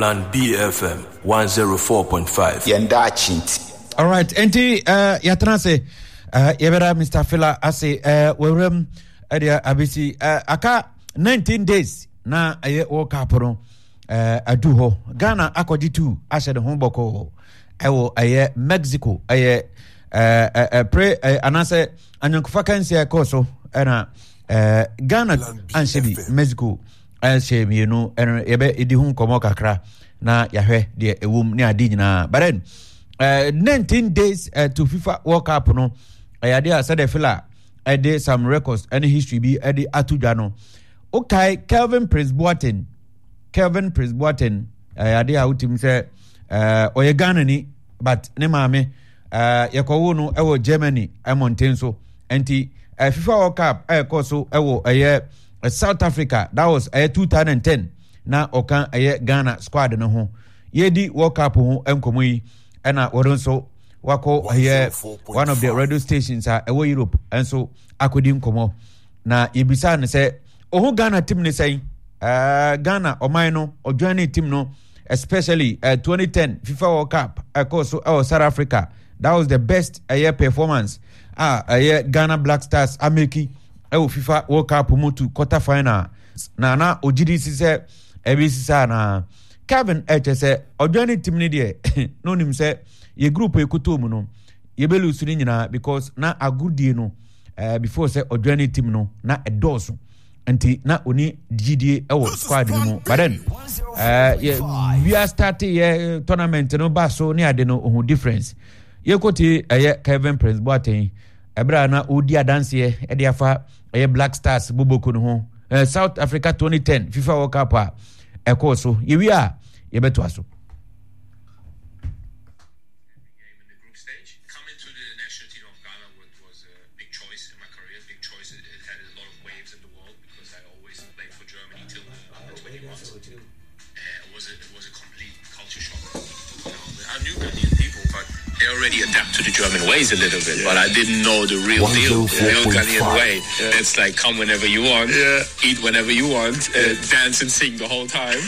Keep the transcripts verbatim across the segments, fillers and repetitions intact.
Plan B F M one oh four point five. Yɛn daakye nti. Alright, nti uh, yɛatena ase, uh, yɛbɛda Mister Fila ase. uh, wɔwuram ɛdeɛ abɛsi uh, aka nineteen days na ɛyɛ World Cup no uh, adu hɔ. Ghana akɔgye two ahyɛ ne ho bɔkɔɔ ɛwɔ ɛyɛ Mexico, ɛyɛ uh, uh, pre uh, anaasɛ anyɔnkofa kansia ɛkɔɔ so, ɛna uh, Ghana anhyɛ bi, Mexico ɛhyɛ mmienu. Ɛno yɛbɛ ɛdi ho nkɔmmɔ kakra na yɛahwɛ deɛ ɛwɔ mu ne ade nyinaa. But then uh, nineteen days uh, to FIFA World Cup no, ɛyɛ adeɛ a sɛdeɛ Fila ɛde some records ɛne history bi ɛde ato dwa no, wokae Kelvin Prince Boateng? Kelvin Prince Boateng ɛyɛ adeɛ a wotim sɛ ɔyɛ Ghana ni, but ne maame uh, yɛkɔwo no ɛwɔ Germany ɛmɔnten so. Nti uh, FIFA World Cup ɛkɔ so ɛwɔ ɛyɛ South Africa, that was ɛyɛ twenty ten, na ɔka ɛyɛ Ghana squad no ho. Yɛdi World Cup ho nkɔmmɔ yi, ɛna wɔde nso wakɔ ɛyɛ one of the radio stations a ɛwɔ Europe nso akɔdi nkɔmmɔ, na yɛbisa no sɛ ɔho Ghana team ne sɛn, uh, Ghana ɔman no ɔjoin ne team no, especially uh, twenty ten FIFA World Cup ɛkɔ so ɛwɔ South Africa. That was the best ɛyɛ performance a ɛyɛ Ghana Black Stars ameki ɛwɔ FIFA World Cup mu to quarter final, na na ogyidi si sɛ ɛbi sisa. Na Kevin ɛkyɛ sɛ ɔjoin ne team ne deɛ, na onim sɛ yɛ group ekoto mu no yɛbɛlose no nyinaa, because na agodie no uh, before sɛ ɔjoin ne team no na ɛdɔɔso, nti na oni gyidie ɛwɔ squad no mu. But then uh, yɛ wia start yɛ tournament no ba so ne ade no, ohun difference. Yɛkɔtie ɛyɛ Kevin Prince Boateng ɛberɛ a na ɔredi adanseɛ ɛde afa ɛyɛ Black Stars boboko no ho, uh, South Africa twenty ten FIFA World Cup a ɛkɔɔ so. Yɛwie a yɛbɛtoa so. Game in the group stage. Coming to the national team of Ghana was, was a big choice in my career. Big choice. It, it had a lot of waves in the world because I always played for Germany till the under twenty-ones. Uh, it was a, it was a complete culture shock. You know, I knew Ghanaian people, but they already adapt to the German ways a little bit. But I didn't know the real deal, the real Ghanaian way. It's like come whenever you want, eat whenever you want, uh, dance and sing the whole time.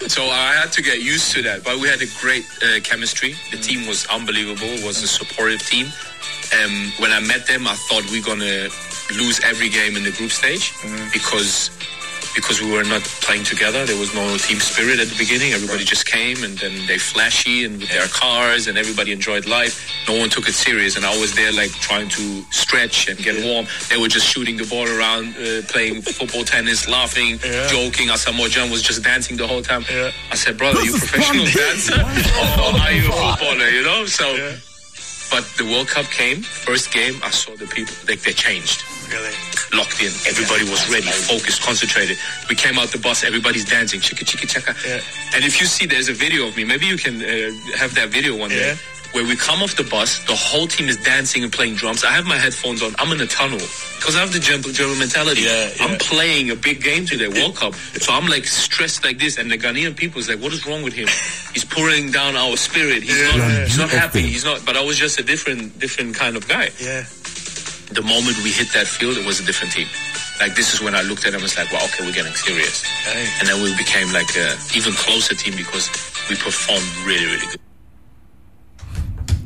So I had to get used to that. But we had a great uh, chemistry. The team was unbelievable. It was a supportive team. Um, when I met them, I thought we're gonna lose every game in the group stage because because we were not playing together. There was no team spirit at the beginning. Everybody just came and then they flashy and with their cars and everybody enjoyed life. No one took it serious, and I was there like trying to stretch and get warm. They were just shooting the ball around, uh, playing football, tennis, laughing, joking. Asamoah Gyan was just dancing the whole time. I said, "Brother, you professional dancer or are you a footballer?" You know, so. But the World Cup came. First game, I saw the people, like they changed. Really? Locked in. Everybody was ready, focused, concentrated. We came out the bus, everybody's dancing, chicka chicka chaka. Yeah. And if you see, there's a video of me. Maybe you can uh, have that video one day. Yeah. Where we come off the bus, the whole team is dancing and playing drums. I have my headphones on. I'm in a tunnel because I have the German, German mentality. Yeah, yeah. I'm playing a big game today, World Cup. So I'm like stressed like this, and the Ghanaian people is like, "What is wrong with him? He's pouring down our spirit. He's Yeah. not. He's not happy. F M. He's not." But I was just a different, different kind of guy. Yeah. The moment we hit that field, it was a different team. Like this is when I looked at them and was like, "Well, okay, we're getting serious." Hey. And then we became like a even closer team because we performed really, really good.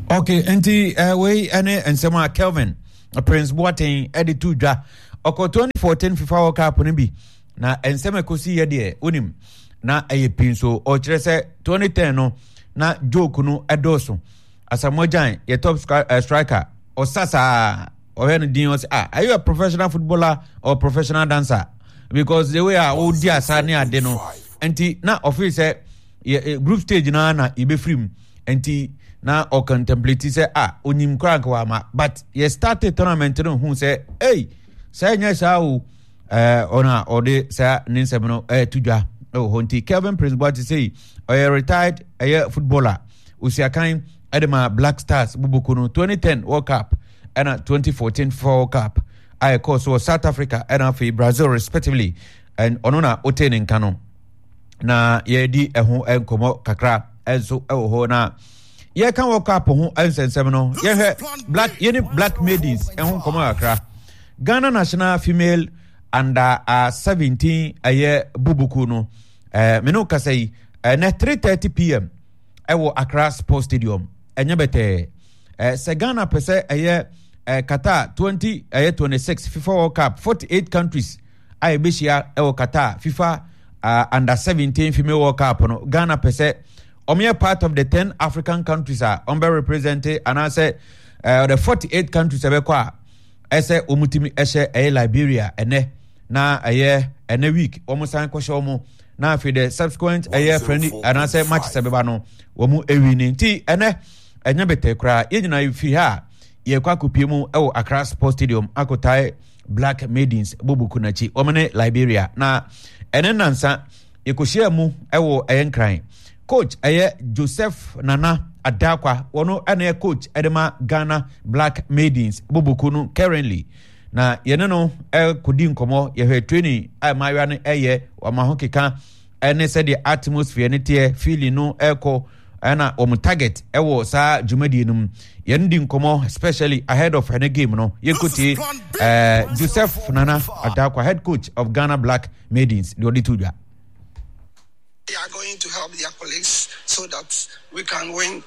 Okay, nti uh, wei ɛne nsɛm a Kelvin Prince Boateng ɛde to dwa. Ɔkɔ twenty fourteen FIFA World Cup no bi, na nsɛm a ɛkɔsi yɛ deɛ wonim na ɛyɛ pii nso. Ɔkyerɛ sɛ twenty ten no na joke no ɛdɔɔso. Asamoah Gyan yɛ top uh, striker, ɔsa saa, ɔhwɛ no din, ɔsɛ, "Ah, are you a professional footballer or professional dancer? Because the way a ɔdi asa ne ade no." Nti na ɔfeel sɛ yɛ group stage na na yɛbɛfiri mu, nti na ɔcontemplate sɛ ah, onyim koraa nka wama. But yɛ started tournament no, hu sɛ ei, sɛ ɛnyɛ saa o. ɛɛ ɔno a ɔde saa ne nsɛm no ɛɛto dwa ɛwɔ hɔ. Nti Kelvin Prince Boateng sei ɔyɛ retired ɛyɛ footballer, osiakan ɛde ma Black Stars boboko no twenty ten World Cup ɛna twenty fourteen World Cup a ɛkɔɔ so wɔ South Africa ɛna afei Brazil respectively, and ɔno na ɔte ne nka no na yɛdi ɛho nkɔmmɔ kakra nso ɛwɔ hɔ. Na yɛka World Cup ho nsɛnsɛm no, yɛhwɛ Black yɛne Black Maidens ɛho nkɔmmɔ kakra. Ghana national female under uh, seventeen ɛyɛ bubuku no, ɛɛ mene kasa yi Ɛnɛ three thirty p m ɛwɔ Accra Sports Stadium. Ɛnyɛ bɛtɛɛ. ɛɛ sɛ Ghana pɛ sɛ ɛyɛ ɛɛ Qatar twenty ɛyɛ twenty six FIFA World Cup, forty eight countries a yɛbɛhyia ɛwɔ Qatar FIFA uh, under seventeen Female World Cup no, Ghana pɛ sɛ wɔn yɛ part of the ten African countries a wɔn bɛ represent anaasɛ ɛɛ the forty eight countries ɛbɛkɔ a, ɛsɛ wɔn tumi ɛhyɛ ɛyɛ Liberia ɛnɛ na ɛyɛ ɛnɛ week wɔn san kɔhyɛ wɔn, na afei the subsequent ɛyɛ friendly anaasɛ matches ɛbɛba no, wɔn ɛwi ne. Nti ɛnɛ ɛnyɛ bɛtɛ koraa. Yɛn nyinaa firi ha a, yɛkɔ akɔpie mu ɛwɔ Accra Sports Stadium akɔtae Black Maidens bobuku n'akyi, wɔn ne Liberia. Na ɛne nansa yɛkɔhyia mu ɛwɔ ɛyɛ Nkran. Coach ɛyɛ Joseph Nana Adakwa, wɔn ɛna yɛ coach ɛde ma Ghana Black Maidens bobuku no currently, na yɛne no ɛkɔdi nkɔmmɔ. Yɛhwɛ training a mmaayewa no ɛyɛ, wɔn ho keka ɛne sɛdeɛ atmosphere no teɛ, feeling no ɛkɔ, ɛna wɔn target ɛwɔ saa dwumadie no mu. Yɛn di nkɔmmɔ especially ahead of ɛne game no. Yɛnkɔtie ɛɛ Joseph Nana Adakwa, head coach of Ghana Black Maidens, deɛ ɔde to dwa. They are going to help their colleagues so that we can win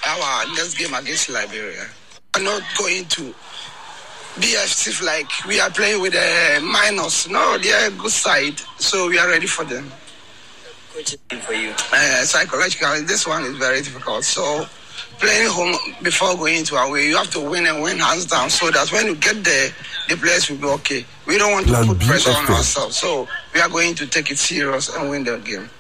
our next game against Liberia. We're not going to be as if like we are playing with a minus. No, they are a good side, so we are ready for them. Coach, for you? Uh, psychologically, this one is very difficult. So playing home before going to away, you have to win and win hands down so that when you get there, the players will be okay. We don't want to Plan put B pressure on F M. ourselves, so we are going to take it serious and win the game.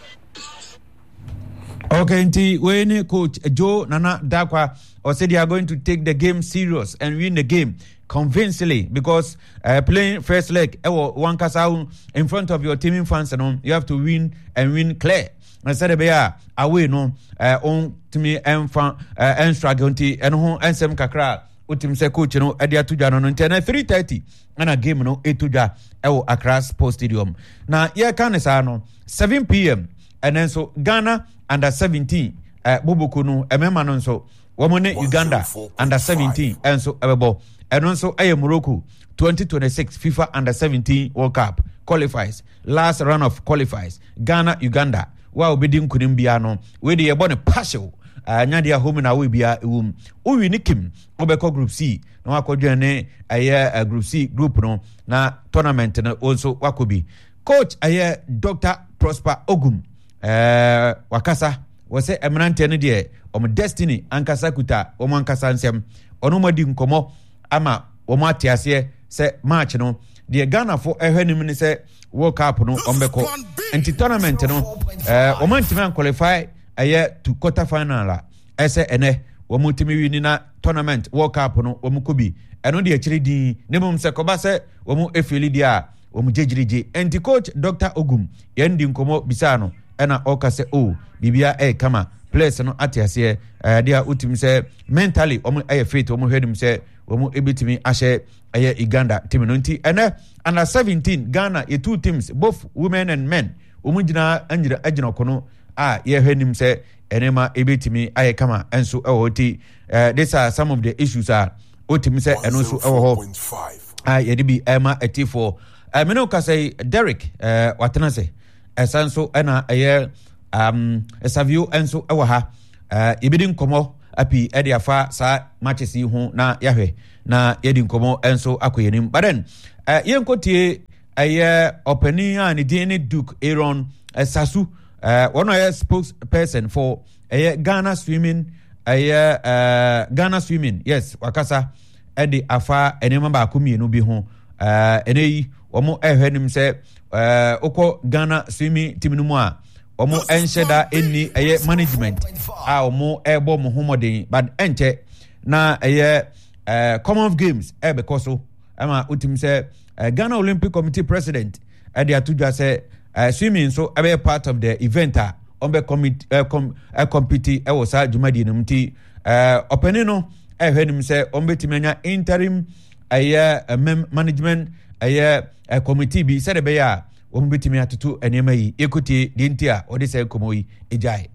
Okay, nti wei ne Coach Joe Nana Dakwa. Ɔsɛ they are going to take the game serious and win the game convincingly because uh, playing first leg ɛwɔ wankasa in front of your team fans no, you have to win and win clear. Na sɛdeɛ ɛbɛyɛ a away no ɛɛ ɔntumi ɛnfa ɛɛ ɛnstruggle. Nti ɛno ho ɛnsɛm kakra a wotumi sɛ coach no ɛde ato dwa no no Nti ɛnɛ three thirty ɛna game no ɛto dwa ɛwɔ Accra Sports Stadium. Na yɛka ne saa no, seven p m ɛnɛ nso Ghana under seventeen ɛɛ boboko no, ɛmɛɛma no nso, wɔn ne Uganda under seventeen ɛnso ɛbɛbɔ. Ɛno nso ɛyɛ Morocco twenty twenty-six FIFA under seventeen World Cup qualifiers, last round of qualifiers. Ghana Uganda wa a obɛdi nkunim biara no, wei de yɛbɔ no partial anyadeɛ a home na awo biara ɛwɔ mu. Wowi ne kim, wobɛkɔ Group C na wakɔdwene ne ɛyɛ Group C group no na tournament no wo nso wakɔ bi. Coach ɛyɛ Doctor Prosper Ogum, ɛɛ wakasa wɔ sɛ mmeranteɛ no deɛ, wɔn destiny ankasa kuta wɔn ankasa nsɛm. Ɔno mo adi nkɔmɔ ama wɔn ate aseɛ sɛ match no deɛ, Ghanafo ɛhwɛ nim ne sɛ World Cup no wɔn bɛkɔ. Nti tournament no ɛɛ wɔn antumi anqualify ɛyɛ to quarter final a, ɛsɛ ɛnɛ wɔn tumi wi ni na tournament World Cup no wɔn kɔ bi. Ɛno deɛ akyire din ne mu sɛ kɔba sɛ wɔn efail deɛ a, wɔn gyegyirigye. Nti Coach Doctor Ogum, yɛn di nkɔmɔ bisaa no, ɛna ɔka sɛ o oh, biribia ɛyɛ kama, players no ate aseɛ ɛɛ deɛ a wotumi sɛ mentally wɔn ɛyɛ fit, wɔn hwɛ nim sɛ wɔn ebitumi ahyɛ ɛyɛ Uganda team no. Nti ɛnɛ under seventeen Ghana yɛ two teams, both women and men, wɔn gyina gyina gyina ɔkono a yɛhwɛ nim sɛ ɛnɛma ebitumi ayɛ kama nso ɛwɔ hɔ. Ti ɛɛ these are some of the issues a wotumi sɛ ɛno nso ɛwɔ hɔ a yɛde bi ɛma ɛtifoɔ. Ɛmene wo kasa yi, Derek ɛɛ watena se ɛsa nso ɛna ɛyɛ um, Savio nso ɛwɔ ha. ɛɛ yɛbɛdi nkɔmɔ api ɛde afa saa matches yi ho na yɛahwɛ na yɛdi nkɔmɔ nso akɔ yɛn anim. But then ɛɛ yɛnkɔtie ɛyɛ ɔpanin a ne din ne Duke Aaron Sasu, ɛɛ wɔn a ɔyɛ spokesperson for ɛyɛ Ghana Swimming, ɛyɛ ɛɛ Ghana Swimming, yes, wakasa ɛde afa nneɛma baako mmienu bi ho. ɛɛ ɛnɛ yi wɔn ɛhwɛ nim sɛ ɛɛ wokɔ Ghana swimming team no mu a, wɔn nhyɛ da nni ɛyɛ management a wɔn ɛrebɔ wɔn ho mmɔden, but ɛnkyɛ na ɛyɛ ɛɛ Commonwealth Games ɛrebɛkɔ so ɛma wotumi sɛ ɛɛ Ghana Olympic Committee president ɛde ato dwa sɛ ɛɛ swimming nso ɛbɛyɛ part of the event a wɔn bɛ commit ɛɛ com ɛɛ compete ɛwɔ saa dwumadie no mu. Nti ɛɛ ɔpanin no ɛhwɛ nim sɛ wɔn bɛtumi anya interim ɛyɛ ɛmɛm management ɛyɛ ɛ committee bi sɛdeɛ ɛbɛyɛ a wɔn bɛtumi atoto nneɛma yi. Ekotie deɛ nti a wɔde sɛ nkɔmɔ yi egyae.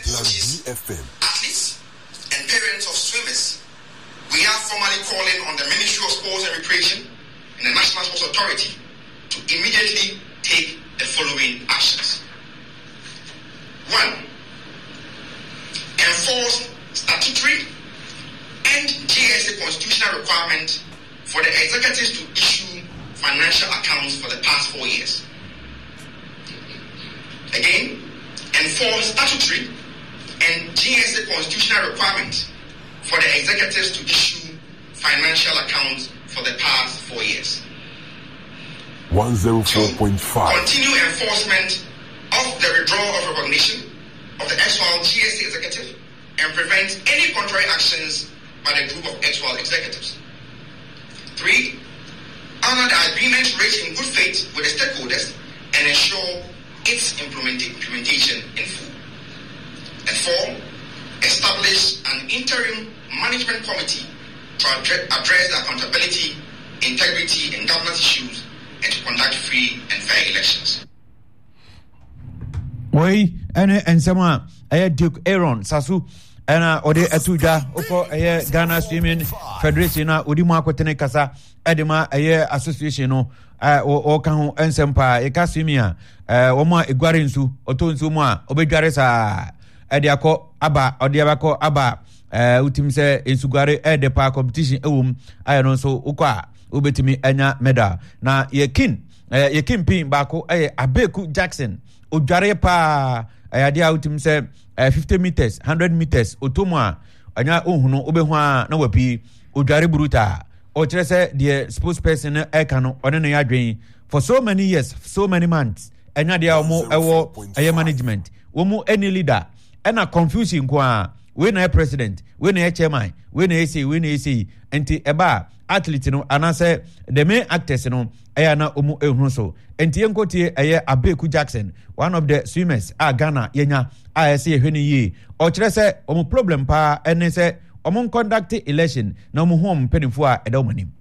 Coaches, athletes, and parents of swimmers, we are formally calling on the Ministry of Sports and Recreation and the National Sports Authority to immediately take the following actions. for the executives to issue financial accounts for the past four years. Again, enforce statutory and G S A constitutional requirements for the executives to issue financial accounts for the past four years. one oh four point five. Two, continue enforcement of the withdrawal of recognition of the erstwhile G S A executive and prevent any contrary actions by the group of erstwhile executives. Three, honor the agreement reached in good faith with the stakeholders and ensure its implement- implementation in full. And four, establish an interim management committee to addre- address the accountability, integrity, and governance issues and to conduct free and fair elections. Wei ɛne nsɛm a ɛyɛ Duke Aaron Sasu ɛna ɔde ɛto dwa wokɔ ɛyɛ Ghana Swimming Federation a ɔdi mu akotene kasa ɛde ma ɛyɛ association no ɔka ho nsɛm paa. Yɛka swimming a wɔn a eguare nsu ɔtɔ nsu mu a ɔbɛdware saa ɛde akɔ aba ɔde abakɔ aba ɛɛ wotim sɛ nsuguare ɛde paa competition ɛwɔ mu ayɛ no nso wokɔ a wobɛtumi anya medal. Na yɛkin ɛɛ yɛkin pin baako ɛyɛ Abeku Jackson odware paa ɛyɛ adeɛ a wotim sɛ ɛɛ fifty meters hundred meters oto mu a ɔnya ohunu wobɛhu a na wapi odware bruta. Ɔkyerɛ sɛ deɛ spokesperson no ɛka no ɔne no yɛ adwene for so many years, so many months ɛnya deɛ a wɔn ɛwɔ ɛyɛ management wɔn mu any leader ɛna confusion nko a wei na yɛ president, wei na yɛ chairman, wei na yɛ sei, wei na yɛ sei. Nti ɛba athlete no anaasɛ the main actors no ɛyɛ na wɔn ehunu so. Nti yɛn nkotie ɛyɛ Abeku Jackson, one of the swimmers a Ghana yɛnya a ɛsɛ yɛhwɛ ne yie. Ɔkyerɛ sɛ wɔn problem paa ɛne sɛ wɔn conduct election na wɔn ho wɔn mpanimfoɔ a ɛda wɔn anim.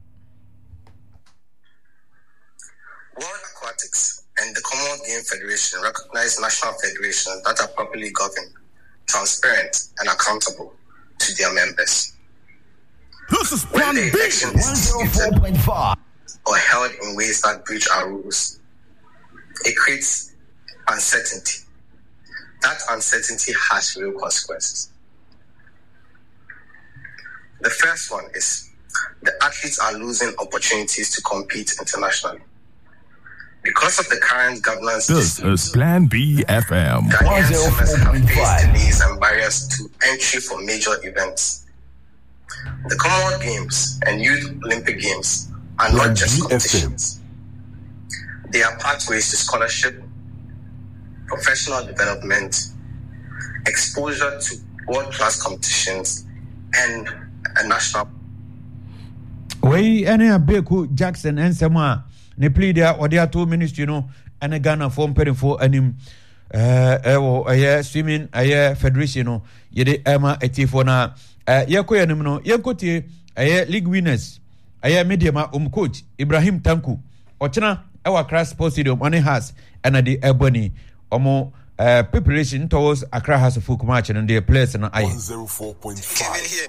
World Aquatics and the Commonwealth Games Federation recognize national federations that are properly governed, transparent, and accountable to their members. This is When the Plan B election is disputed one oh four point five. or held in ways that breach our rules, it creates uncertainty. That uncertainty has real consequences. The first one is the athletes are losing opportunities to compete internationally. Because of the current governance This dispute, is Plan B F M. Ghanaian swimmers have faced one oh four point five. delays and barriers to entry for major events. The Commonwealth Games and Youth Olympic Games are not Plan just B F M. competitions. They are pathways to scholarship, professional development, exposure to world-class competitions, and a national. Wei ɛne Abeku Jackson nsɛm a ne plea deɛ ɔde ato ministry no ɛne Ghana fo mpanimfoɔ anim. Ɛɛ, ɛwɔ ɛyɛ swimming ɛyɛ federation no yɛde ɛma atiefoɔ na, ɛɛ, yɛkɔ yɛn anim no yɛnkɔ tie ɛyɛ league winners ɛyɛ Medeama um coach Ibrahim Tanko ɔkyena ɛwɔ Accra Sports Stadium ɔne Hearts ɛna de ɛbɔ ni ɔmo, ɛɛ, preparation towards Accra Hearts of Oak match no deɛ players no ayɛ. one zero four point five.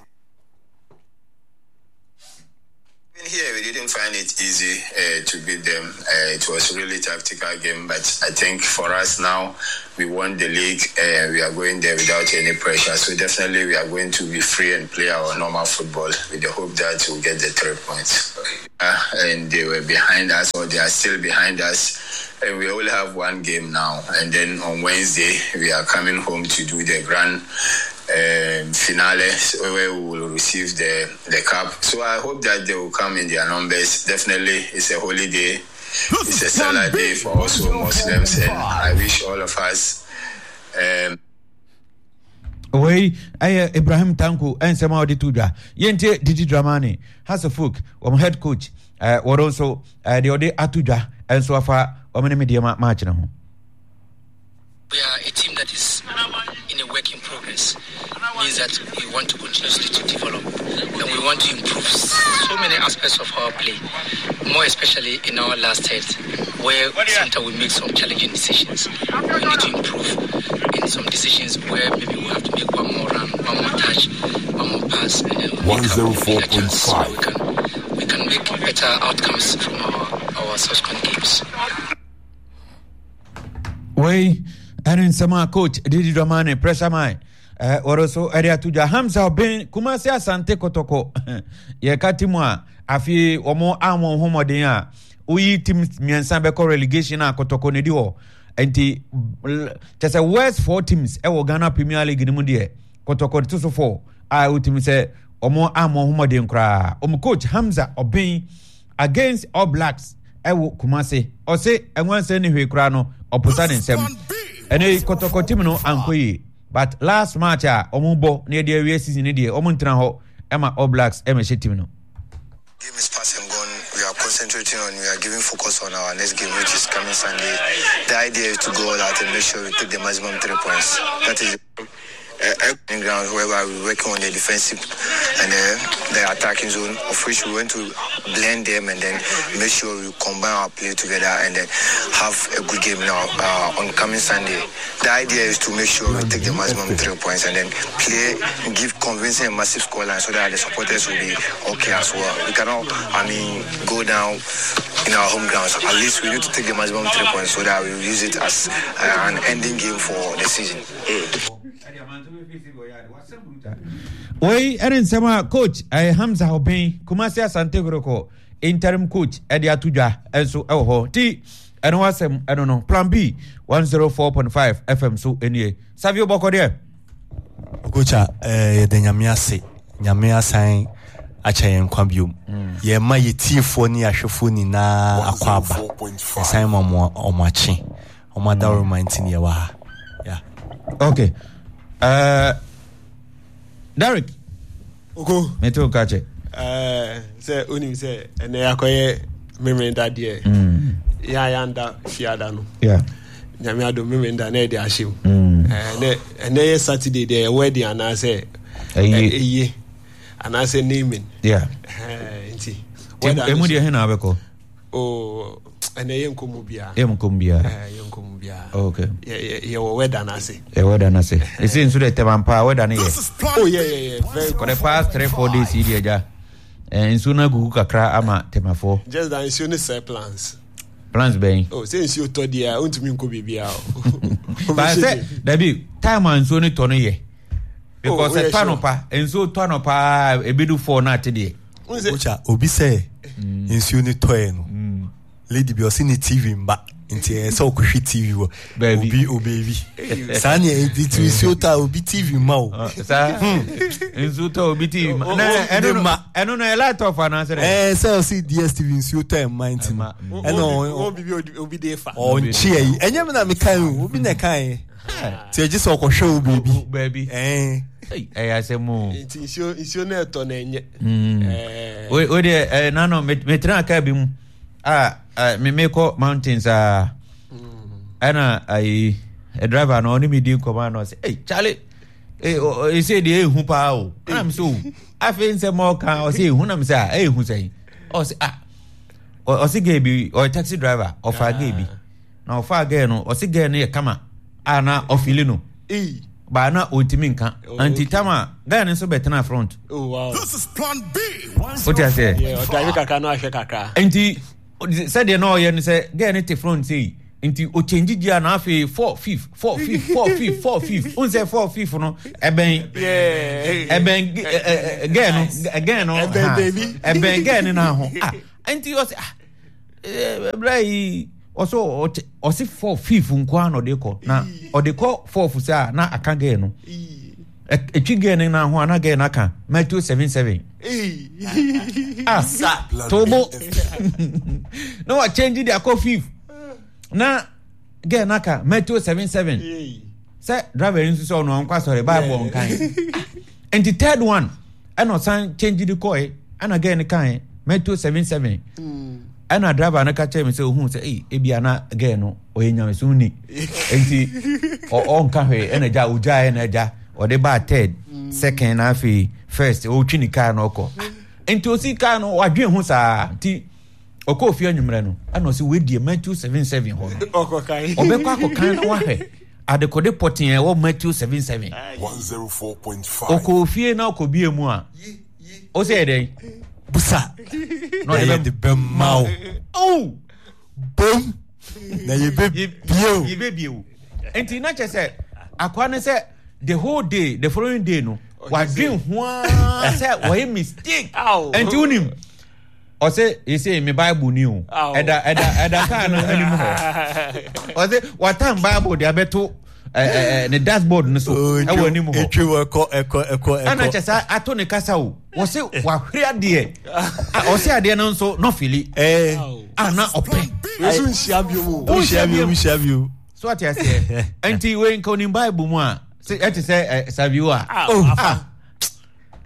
Even here, we didn't find it easy, uh, to beat them. Uh, it was really tactical game, but I think for us now, we won the league. Uh, we are going there without any pressure. So definitely we are going to be free and play our normal football with the hope that we'll get the three points. Uh, and they were behind us, or they are still behind us. And we only have one game now. And then on Wednesday, we are coming home to do the grand, um, finale, so where we will receive the, the cup. So I hope that they will come in their numbers. Definitely, it's a holy day. It's a Salah day for also Muslims, and I wish all of us. Um, Wei, ɛyɛ Ibrahim Tanko nsɛm a ɔde to dwa. Yɛntie Didi Dramani, Hasselhoff, wɔn head coach, eh, wɔn nso, eh, deɛ ɔde ato dwa nso afa wɔn ne Medeama match no ho. We are a team that is in a work in progress. Means that we want to continuously to develop and we want to improve so many aspects of our play, more especially in our last third, where sometimes we make some challenging decisions. We need to improve in some decisions where maybe we have to make one more run, one more touch, one more pass, and then we make up a bigger chance so we can, we can make better outcomes from our, our subsequent games. Wei, ɛne nsɛm a coach Didi Dramani, pressure man, eh, wɔre so ɛde ato dwa. Hamza Obeng, Kumasi Asante Kotoko, yɛka ti mu a Afei wɔn a wɔn ho mmɔden a woyi team mmiɛnsa bɛkɔ relegation a Kɔtɔkɔ na edi hɔ. Nti kyɛ sɛ worst four teams ɛwɔ Ghana Premier League no mu deɛ, Kɔtɔkɔ to so four a wotumi sɛ wɔn a wɔn ho mmɔden koraa. Wɔn coach Hamza Obeng against All Blacks ɛwɔ Kumase, ɔse ɛnwansɛn ne hwee koraa no ɔposa ne nsɛm. Ɛnɛ Kɔtɔkɔ team no ankɔ yie, but last match a wɔn bɔ na yɛde awie season no deɛ, wɔn ntena hɔ ɛma All Blacks ɛmɛhyɛ team no. Game is past and gone. We are concentrating on, we are giving focus on our next game, which is coming Sunday. The idea is to go all out and make sure we take the maximum three points. That is uh, ground whereby we're working on the defensive and the, the attacking zone, of which we want to blend them and then make sure we combine our play together and then have a good game now uh, on coming Sunday. The idea is to make sure we take the maximum three points and then play, give convincing and massive scoreline so that the supporters will be okay as well. We cannot, I mean, go down in our home grounds. At least we need to take the maximum three points so that we use it as uh, an ending game for the season. Wei ɛne nsɛm a coach eh, Hamza Obeng, Kumasi Asante Kotoko interim coach, ɛde ato dwa nso ɛwɔ hɔ. Nti ɛno asɛm ɛno no Plan B one oh four point five F M so nie. Savio, bɔkɔ deɛ? Okocha, eh, yɛda Nyame ase. Nyame asan akyɛ yɛn nkwa biom. Yɛma yɛ tiefoɔ ne yɛahwɛfoɔ nyinaa akɔ aba. Yɛsan ma ɔmo ɔmo akye ɔmo adaworoma nti ne yɛwɔ ha. Yeah. Okay, uh, Derek. Oko. Mete wo ka kyɛ. Ɛɛ, sɛ onim sɛ ɛnɛ akɔyɛ Memenda deɛ, yɛ a yɛanda fiada no, yeah. Nyame adom, Memenda na ɛde ahyɛ mu. Mm. Ɛɛ, nɛ ɛnɛ yɛ Saturday deɛ, yɛ wedding anaasɛ ɛyie. Ɛyie anaasɛ naming. Yeah. Ɛɛ, nti ɛmu deɛ he na wabɛkɔ? Oh, ɛnɛ yɛ nkɔmmɔ biara. Yɛ nkɔmmɔ biara. Ɛɛ, yɛ nkɔmmɔ biara. Okay. yɛ yɛ yɛwɔ weather no ase. Yɛ weather no ase. Ɛsɛ nso dɛ tɛm ampa weather no yɛ. Oh yeah yeah yeah very. For the past three four days yi deɛ, agya, eh, nsuo no agugu kakra ama tɛmafoɔ. Just that nsuo no sɛ plans. Plans bɛn? Oh, sɛ nsuo tɔ deɛ a, wontumi nkɔ biribiara o. Ba sɛ dabi, time a nsuo no tɔ no yɛ because Oh, ɛtɔ anɔpa, nsuo tɔ anɔpa, ebi four na ate deɛ. Okocha, obi sɛ nsuo no tɔɛ no, lady bi ɔsi ne T V mba, nti ɛyɛ sɛ ɔkɔhwɛ T V wɔ Baabi. Obi obeebi saa ne ɛnti ti nsuo tɔ a, obi T V mma o. Saa nsuo tɔ obi T V ma na ɛno no ma. Ɛno no ɛ light off anaasɛ dɛ? Ɛɛ, sɛ ɔsi D S T V nsuo tɔ ɛmma nti no ɛna wɔn ɔ- biribi obi- obi de fa. ɔnkye ayi. Ɛnyɛ mi na mi kan o, obi na kan yɛ nti ɛgye sɛ ɔkɔhwɛ o beebi. Baabi. Ɛɛ. Ei, ɛyɛ asɛm o. Nti nsuo nsuo no ɛtɔ na ɛnyɛ. Ɛɛ, o o deɛ, ɛɛ nano metena kaa bi mu a ɛ, me mekɔ mountains a, ɛna ayi ɛ, driver no ɔne me di nkɔmɔ a, na ɔsɛ, "Ei Charlie, ee ese deɛ ehu paa o." Ɛna mi sɛ, "O, afei nsɛm a ɔka, ɔsɛ ehu." Na mi sɛ, "A, ehu sɛn?" Ɔsɛ, "Ah," ɔ- ɔsɛ girl bi, ɔyɛ taxi driver, ɔfa girl bi na ɔfa girl no, ɔsɛ girl no yɛ kama a na ɔfili no Ei. baa na ɔntumi nka. Oh, nti okay. tam a girl no nso bɛtena front. Oh wow. This is Plan B. Wote aseɛ? Yeah, ɔdrive kakra na ahwɛ kakra. Nti sɛdeɛ na ɔyɛ no sɛ girl no te front sei, nti ɔkyɛngye gia na afei four fifth, four fifth, four fifth, four fifth n sɛ four fifth no ɛbɛn Yeah. ɛbɛn ɛ- ɛ- ɛ- girl no girl no Ɛbɛn ha, baabi. ɛbɛn girl no na ho ah, nti ɔsɛ, ah, ɛɛ ɛbrɛ yi ɔsɛ ɔte ɔsɛ four fifth nko ara na ɔde kɔ, na ɔde kɔ fourth sɛ a na aka girl no, Ɛ- etwi girl no na ho a, na girl no aka Matthew seven seven. Ei. Ah, tobo na wa change de akɔ fifth na girl no aka Matthew seven seven. Ei. Sɛ driver yi nso sɛ ɔno ɔnkɔ asɔre, Bible ɔnkan. Nti third one ɛna ɔsan change de kɔɛ, ɛna girl no kan Matthew seven seven, ɛna driver no ka kyerɛ me sɛ ohun sɛ ɛyi ebi ana girl no ɔyɛ nyamesom ni, nti ɔ- ɔnka hwee, ɛna gya ogya, ɛna gya ɔde baa third, second, na afei first ɔretwi ne car na ɔkɔ. Nti osi car no, wadwen ho saa, nti ɔkɔ ofie anwummerɛ no, ɛna ɔsɛ wedie Matthew seven seven hɔ no Ɔkɔkan. Ɔbɛkɔ akɔkan na wahwɛ adekode pɔtee a ɛwɔ Matthew seven seven. one oh four point five. Ɔkɔ ofie na ɔkɔ mu a, ɔsɛ yɛ dɛn? Busa na na ɔde yɛde bɛma wo. Oh. Bom na yɛbɛbie o. Yɛbɛbie o. Nti na kyerɛ sɛ akoa no sɛ the whole day, the following day no, wadwen ho ara sɛ wɔyɛ mistake. Ow. Nti wonim Ɔsɛ ese mi Bible ni o. Ɛda ɛda ɛda kaa no anim hɔ. Ɔsɛ watan Bible de abɛto ɛɛ ne dashboard no so ɛwɔ anim hɔ. Etwi wɔ ɛkɔ ɛkɔ ɛkɔ ɛkɔ. Ɛna kyɛ sɛ ato ne kasa o. Wɔsɛ wahwere adeɛ. Ɔsɛ adeɛ no nso nɔfili. Ɛɛ. A na ɔpɛ. Yesu nhyia bi mu. Nhyia bi mu nhyia bi mu. So ate aseɛ. Nti wei nka onim Bible mu a ɛte sɛ Savio a. Oh.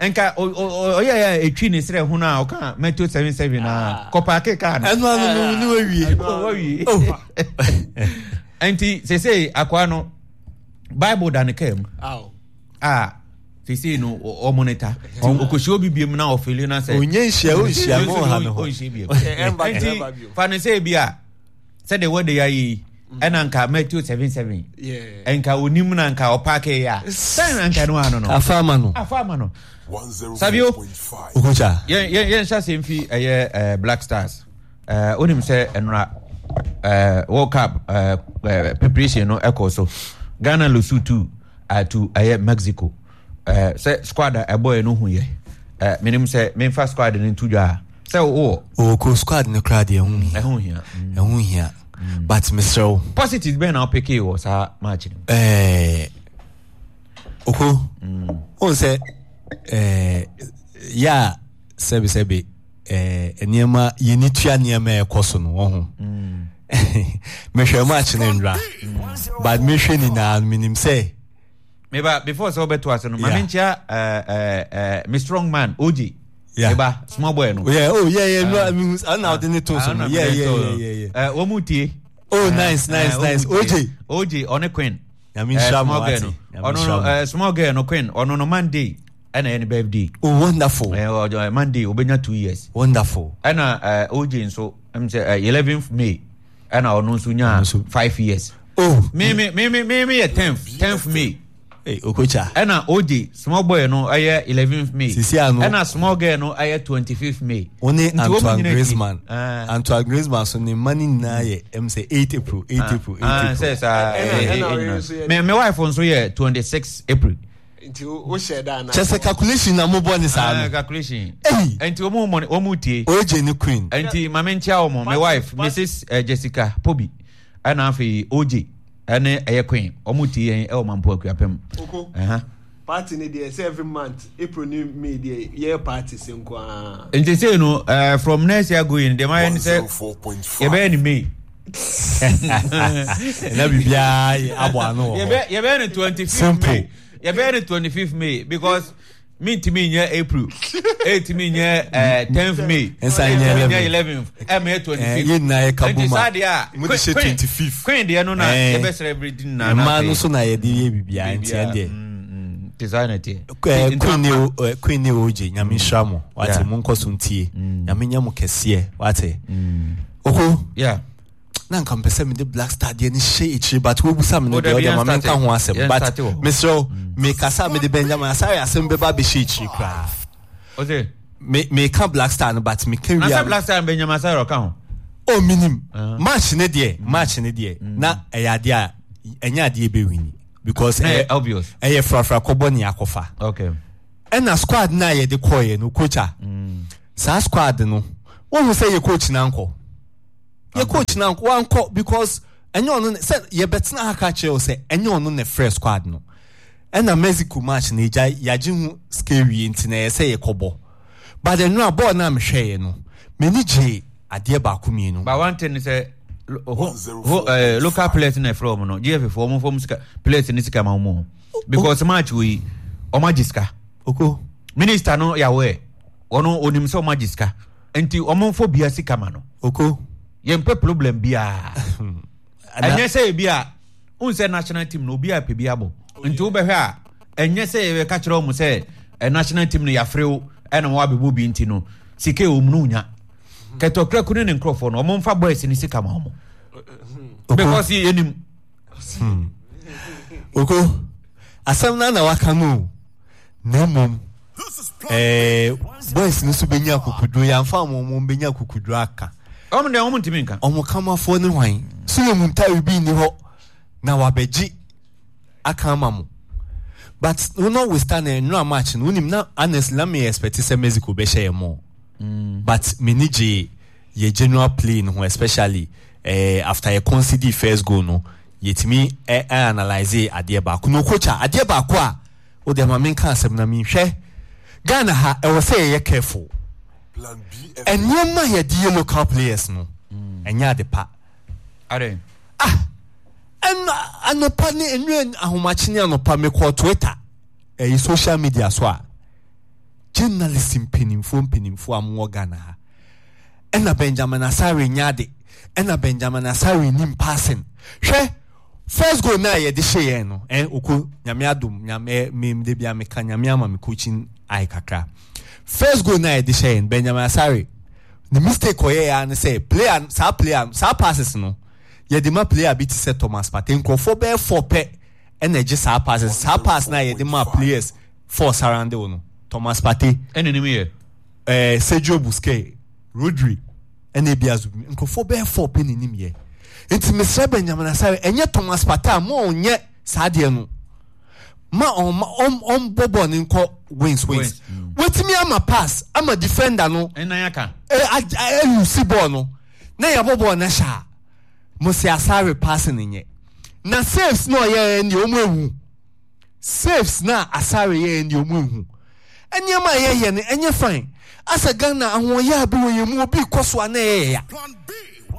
Nka ɔyɛ yɛ etwi ne srɛ ho na ɔka Matthew seven seven na kɔpaake kaa no. Ɛnu ano no ni wawie. Wawie. Nti sese akoa no Bible da ne kaa mu. A sese no ɔmonita. Okosi obi biem na ɔfili na sɛ. Onye nhyia o nhyia mo ha no ho. Onhyia biem. Nti fa ne sɛ bi a sɛde wɔde ya yi ɛna nka Matthew seven seven. Nka onim na nka ɔpaake ya. Sɛn na nka no ano no. Afa ama no. Afa ama no. Savio. Okocha. Yɛn yɛn yɛn hyɛ asɛm fi ɛyɛ ɛɛ Black Stars. Ɛɛ onim sɛ ɛnora ɛɛ World Cup ɛɛ ɛɛ preparation no ɛkɔ so. Ghana lose two to ɛyɛ Mexico. Ɛɛ sɛ squad a ɛbɔ yɛ no hu yɛ. Ɛɛ menim sɛ memfa squad no nto dwa a sɛ wowɔ. Oko squad no koraa deɛ ɛho hia. Ɛho hia. Ɛho hia. But mesrɛ wo. Positives bɛn na wopeke wɔ saa match no. Ɛɛ oko. Ohun sɛ ɛɛ yɛ a sɛbisɛbi ɛɛ nneɛma yɛni tua nneɛma ɛkɔ so no wɔn ho. Mehwɛ match no ndra. But mehwɛ nyinaa menim sɛ. Meba before sɛ wobɛto ase no ma menkyia ɛɛ ɛɛ me strong man O J. Yeah. Eba small boy no. Yeah, oh yeah yeah no, I mean ana ɔde ne to so no. Yeah yeah yeah yeah yeah. Eh wɔn mu tie. Oh nice nice nice. O J. O J ɔne Queen. Nyame nhyira mo ate. Ɔno no eh small girl no Queen ɔno no Monday ɛna ɛyɛ ne birthday. Oh wonderful. Eh ɔjɔ Monday obenya two years. Wonderful. Ɛna eh O J nso ɛm sɛ eleventh May ɛna ɔno nso nya five years. Oh. Me me me me me yɛ tenth tenth May. Hey, Okocha. Ɛna O J small boy no ɛyɛ eleventh May. Sisi ano. Ɛna small girl no ɛyɛ twenty fifth May. One Antoine Griezmann. Uh, Antoine Griezmann so ne mma ne nyinaa yɛ ɛm sɛ eight April eight uh, April eight uh, April. Sɛ saa ɛɛ me me wife nso yɛ twenty six April. Nti o hyɛ da na. Kyɛ sɛ calculation na mo bɔ ne saa no. Calculation. Eyi. Nti wɔn mu wɔn mu tie. O J ne Queen. Nti maame nkyia wɔn my wife Missus Jessica Pobi ɛna afei O J. Ɛne ɛyɛ Queen ɔmo tie yɛn ɛwɔ Mampo Akuapem. Oko party ni deɛ sɛ every month April ni May deɛ yɛ party se nko ara. Nti sei no uh, from next year going deɛ mayɛ ne sɛ yɛbɛyɛ ne May. Ɛna biribiara yɛ abɔ ano wɔ hɔ. Yɛbɛyɛ ne twenty fifth May. Yɛbɛyɛ ne twenty fifth May because mintimi nyɛ April eight mi nyɛ tenth May nsa nyɛ eleventh ɛmɛ yɛ twenty fifth yɛ nyinaa yɛ ka boma saa deɛ a mo de hyɛ twenty fifth Queen deɛ no na yɛbɛ celebrate na mmaa no so na yɛde yɛ biribiara nti ɛdeɛ te saa na ɛteɛ Queen ne Queen ne O J Nyame nhyira mo wate mo nkɔ so ntie Nyame nyɛ mo kɛseɛ wate oko yeah na nka mpɛ sɛ mede Black Star deɛ no hyɛ akyire but wobusa me no deɛ ɔdeɛ ma menka ho asɛm but mesrɛ wo mekasa mede Benjamin Asare asɛm bɛba bɛhyɛ akyire koraa meka Black Star no but meka wia na Black Star Benjamin Asare ɔka ho oh minim match ne deɛ match ne deɛ na ɛyɛ adeɛ a ɛnyɛ adeɛ bɛwini because ɛyɛ obvious ɛyɛ frafra kɔbɔ ne akɔfa okay ɛna squad na yɛde kɔɔyɛ no coach a saa squad no wohu sɛ yɛ coach na nkɔ yɛ coach na wankɔ because ɛnyɛ ɔno sɛ yɛbɛtena ha ka kyerɛ wo sɛ ɛnyɛ ɔno na frɛ squad no ɛna Mexico match na egya yagye ho sika wie nti na ɛyɛ sɛ yɛkɔbɔ but ɛno a bɔɔl no a mehwɛeɛ no m'ani gye adeɛ baako mmienu. But one thing sɛ ho ho eh, local players na ɛfrɛ wɔn no G F foɔ wɔn fɔm sika players ne sika ma wɔn because match wei wɔn agye sika. Oko minister no yɛ aware wɔn onim sɛ wɔn agye sika nti wɔn fɔ bia sika ma no. Oko yɛn pɛ problem biara ɛnyɛ sɛ ebi a n sɛ national team no obi a pɛ bi abɔ nti wobɛhwɛ a ɛnyɛ sɛ yɛbɛka kyerɛ wɔn sɛ national team no yɛafrɛ wo ɛna wɔn abɛbɔ bi nti no sika ɛwɔ mu no nya kɛtɔkuraku ne ne nkurɔfoɔ no wɔn mfa boys ne sika ma wɔn because yɛnim. Oko asɛm no na waka no na mmom eh, boys no so bɛnya akokuduro yɛamfa wɔn wɔn bɛnya akokuduro aka wɔn deɛ wɔn ntumi nka wɔn kamafoɔ ne hwan so yɛ mu ntare bi nni hɔ na wabɛgye aka ama mo but notwithstanding nnura match no wonim na honestly na me expect sɛ Mexico bɛhyɛ yɛn mɔ mm. But m'ani gye yɛ general play no ho, especially eh, after yɛ concede first goal no, yɛtumi eh, eh, analyse adeɛ baako no. Coach, a adeɛ baako a wode ma menka asɛm na menhwɛ Ghana ha, ɛwɔ sɛ yɛyɛ careful. Nneɛma a yɛde yɛ local players no ɛnyɛ ade pa. Ah, ɛno anɔpa ne nnua ahomakye ne anɔpa mekɔɔ Twitter, ɛyɛ social media so a, journalist mpanimfoɔ mpanimfoɔ a mowɔ Ghana ha, ɛna Benjamin Asare nyɛ ade, ɛna Benjamin Asare nim passing. Hwɛ first goal na yɛde hyɛ yɛn no, ɛn oko Nyame adom, Nyame mem de bia meka Nyame ama me coaching eye kakra. First goal na yɛde hyɛ yɛn, Benjamin Asare ne mistake ɔyɛ ya ne sɛ player, saa player, saa passes no yɛde ma player bi te sɛ Thomas Partey, nkurɔfoɔ bɛyɛ four pɛ ɛna ɛgye saa passes, saa pass na yɛde ma players four surround wo no, Thomas Partey ɛna nim yɛ ɛɛ Sergio Busquets, Rodri, ɛna ebi Azubimi, nkurɔfoɔ bɛyɛ four pɛ na enim yɛ. Nti mesrɛ Benjamin Asare, ɛnyɛ Thomas Partey a mo ɔnyɛ saa deɛ no, ma ɔma ɔm ɔmbɔ bɔɔl ne nkɔ wings wings, wetumi ama pass ama defender no ɛnan aka ɛ ɛlusi bɔɔl no na yɛbɔ bɔɔl no hyɛ a, mo se Asare pass ne nyɛ na saves na ɔyɛ ɛn deɛ ɔmo ehu saves na Asare yɛ ɛn deɛ ɔmo ehu. Nneɛma a yɛyɛ no ɛnyɛ fine. Asɛ Ghana ahoɔyɛ a bi wɔ yɛn mu, obi kɔ so a na ɛyɛ ya.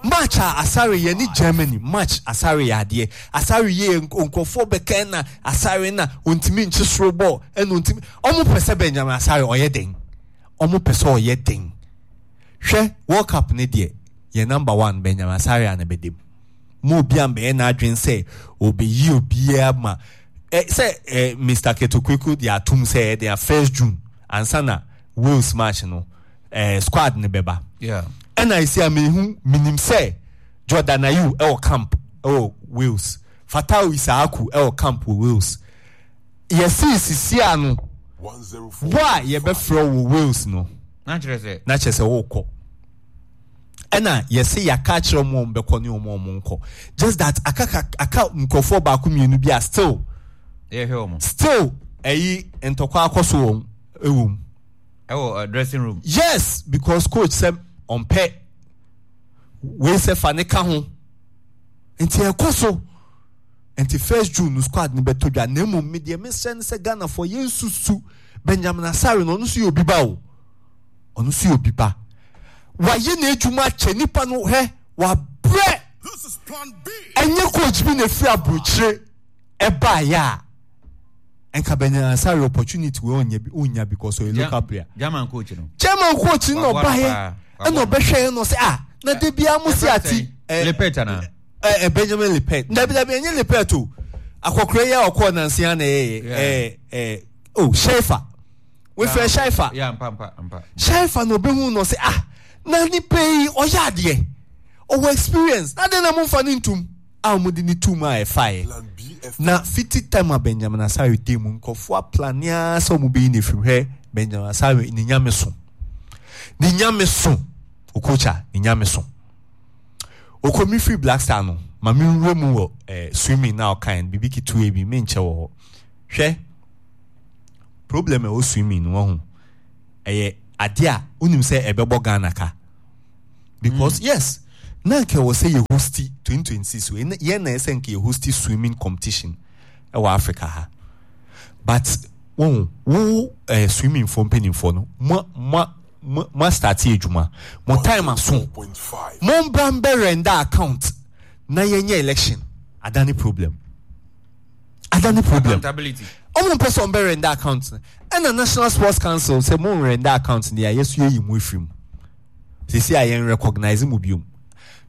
Match a Asare yɛ ne Germany match, Asare yɛ adeɛ, Asare yɛ nkurɔfoɔ bɛka na Asare na ontumi nkye soro bɔɔl, ɛna ontumi. Ɔmo pɛ sɛ Benjamin Asare ɔyɛ den, ɔmo pɛ sɛ ɔyɛ den. Hwɛ, World Cup ne deɛ, yɛ number one Benjamin Asare a na bɛdam mo obi a mbɛyɛ n'adwene sɛ obeyi obiara ma ɛ sɛ ɛ Mister Ketokweku de atum sɛ ɛde a first June ansa na Wales match no ɛ squad ne bɛba. Ɛna esi a mehu minim sɛ Jordan Ayew ɛwɔ camp ɛwɔ Wales, Fatawu Issahaku ɛwɔ camp wɔ Wales. Yɛsi sisi ano wo a yɛbɛfrɛ wɔ Wales no na kyerɛ sɛ na kyerɛ sɛ wɔrekɔ. Ɛna yɛsɛ yɛaka akyerɛ ɔmo a ɔmo bɛkɔ ne ɔmo a ɔmo nkɔ, just that aka aka nkurɔfoɔ baako mmienu bi a still yɛhwɛ ɔmo still ɛyi ntɔkwa akɔ so wɔm ɛwɔ mu ɛwɔ dressing room. Yes, because coach sɛ ɔmpɛ wei sɛ fa ne ka ho, nti ɛkɔ so. Nti first June no squad no bɛtɔ dwa. Na mmom me deɛ mesrɛ no sɛ Ghanafoɔ yɛnsusu Benjamin Asare no, ɔno nso yɛ obi ba o, ɔno nso yɛ obi ba, wayɛ n'adwuma akyɛ nipa no, hwɛ wabrɛ. Ɛnyɛ coach bi na efiri aburokyire ɛbaayɛ a nka Benjamin Asare opportunity wei ɔnya bi, ɔnya because ɔyɛ local player. German coach no, German coach no na ɔbaayɛ ɛna ɔbɛhwɛ yɛn na ɔsɛ ah, na de bia mo si ati Lepet ana ɛ Benjamin Lepet, dabi dabi, ɛnyɛ Lepet o, akɔkora yi a ɔkɔɔ nansi ana ɛyɛ ɛ ɛ o Shaifa, wefrɛ Shaifa, Shaifa na ɔbɛhu na ɔsɛ ah, na nipa yi ɔyɛ adeɛ, ɔwɔ experience, na de na mo nfa ne ntum a wɔn de ne tum a ɛfaeɛ. Na fiti time a Benjamin Asare di mu, nkɔfoɔ aplanea sɛ wɔn bɛyi ne firim. Hwɛ Benjamin Asare ne nyame so, ne nyame so, Okocha ne nyame so. Oko mi firi Black Star no, ma mi nwura mu wɔ eh, swimming na ɔkan bibi ketewa bi me nkyɛ wɔ hɔ. Hwɛ, problem ɛwɔ swimming no ho, ɛyɛ adeɛ a wonim sɛ ɛbɛbɔ Ghana ka because mm. yes, na nka ɛwɔ sɛ yɛ hosti twenty twenty-six wei yɛn na ɛsɛ nka yɛ hosti swimming competition ɛwɔ Africa ha, but wɔn wo eh, swimming fo mpanimfoɔ no mo mo mo mo start adwuma, mo time aso, mo mbra mbɛ render account na yɛnyɛ election. Adane problem, adane problem. Ɔmo mpɛ sɛ ɔmo bɛ render account no, ɛna National Sports Council sɛ mo render account no yɛ yɛso yɛyi mo efiri mu sisi a yɛn recognize mo biom.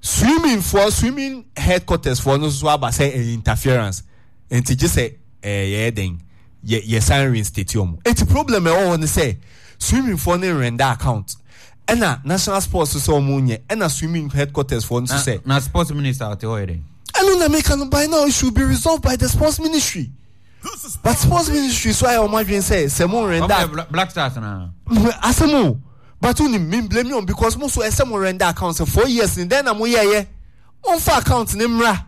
Swimming foɔ, swimming headquarters foɔ no nso aba sɛ ɛyɛ interference, nti gye sɛ ɛɛ yɛyɛ den yɛ yɛ san reinstate ɔmo. Eti problem ɛwɔ hɔ ne sɛ swimming foɔ no render account, ɛna National Sports sɛ ɔmo nyɛ, ɛna swimming headquarters foɔ nso sɛ. Na sports minister ɔte hɔ yɛ dɛ. Ɛno na meka no, by now it should be resolved by the sports ministry, but sports ministry so ayɛ ɔmo adwene sɛ sɛ mo render. Black Stars na. Asɛm o, but wonim me blame you because mo so ɛsɛ mo render account sɛ four years ni dɛn na mo yɛɛyɛ, mo nfa account ne mmra.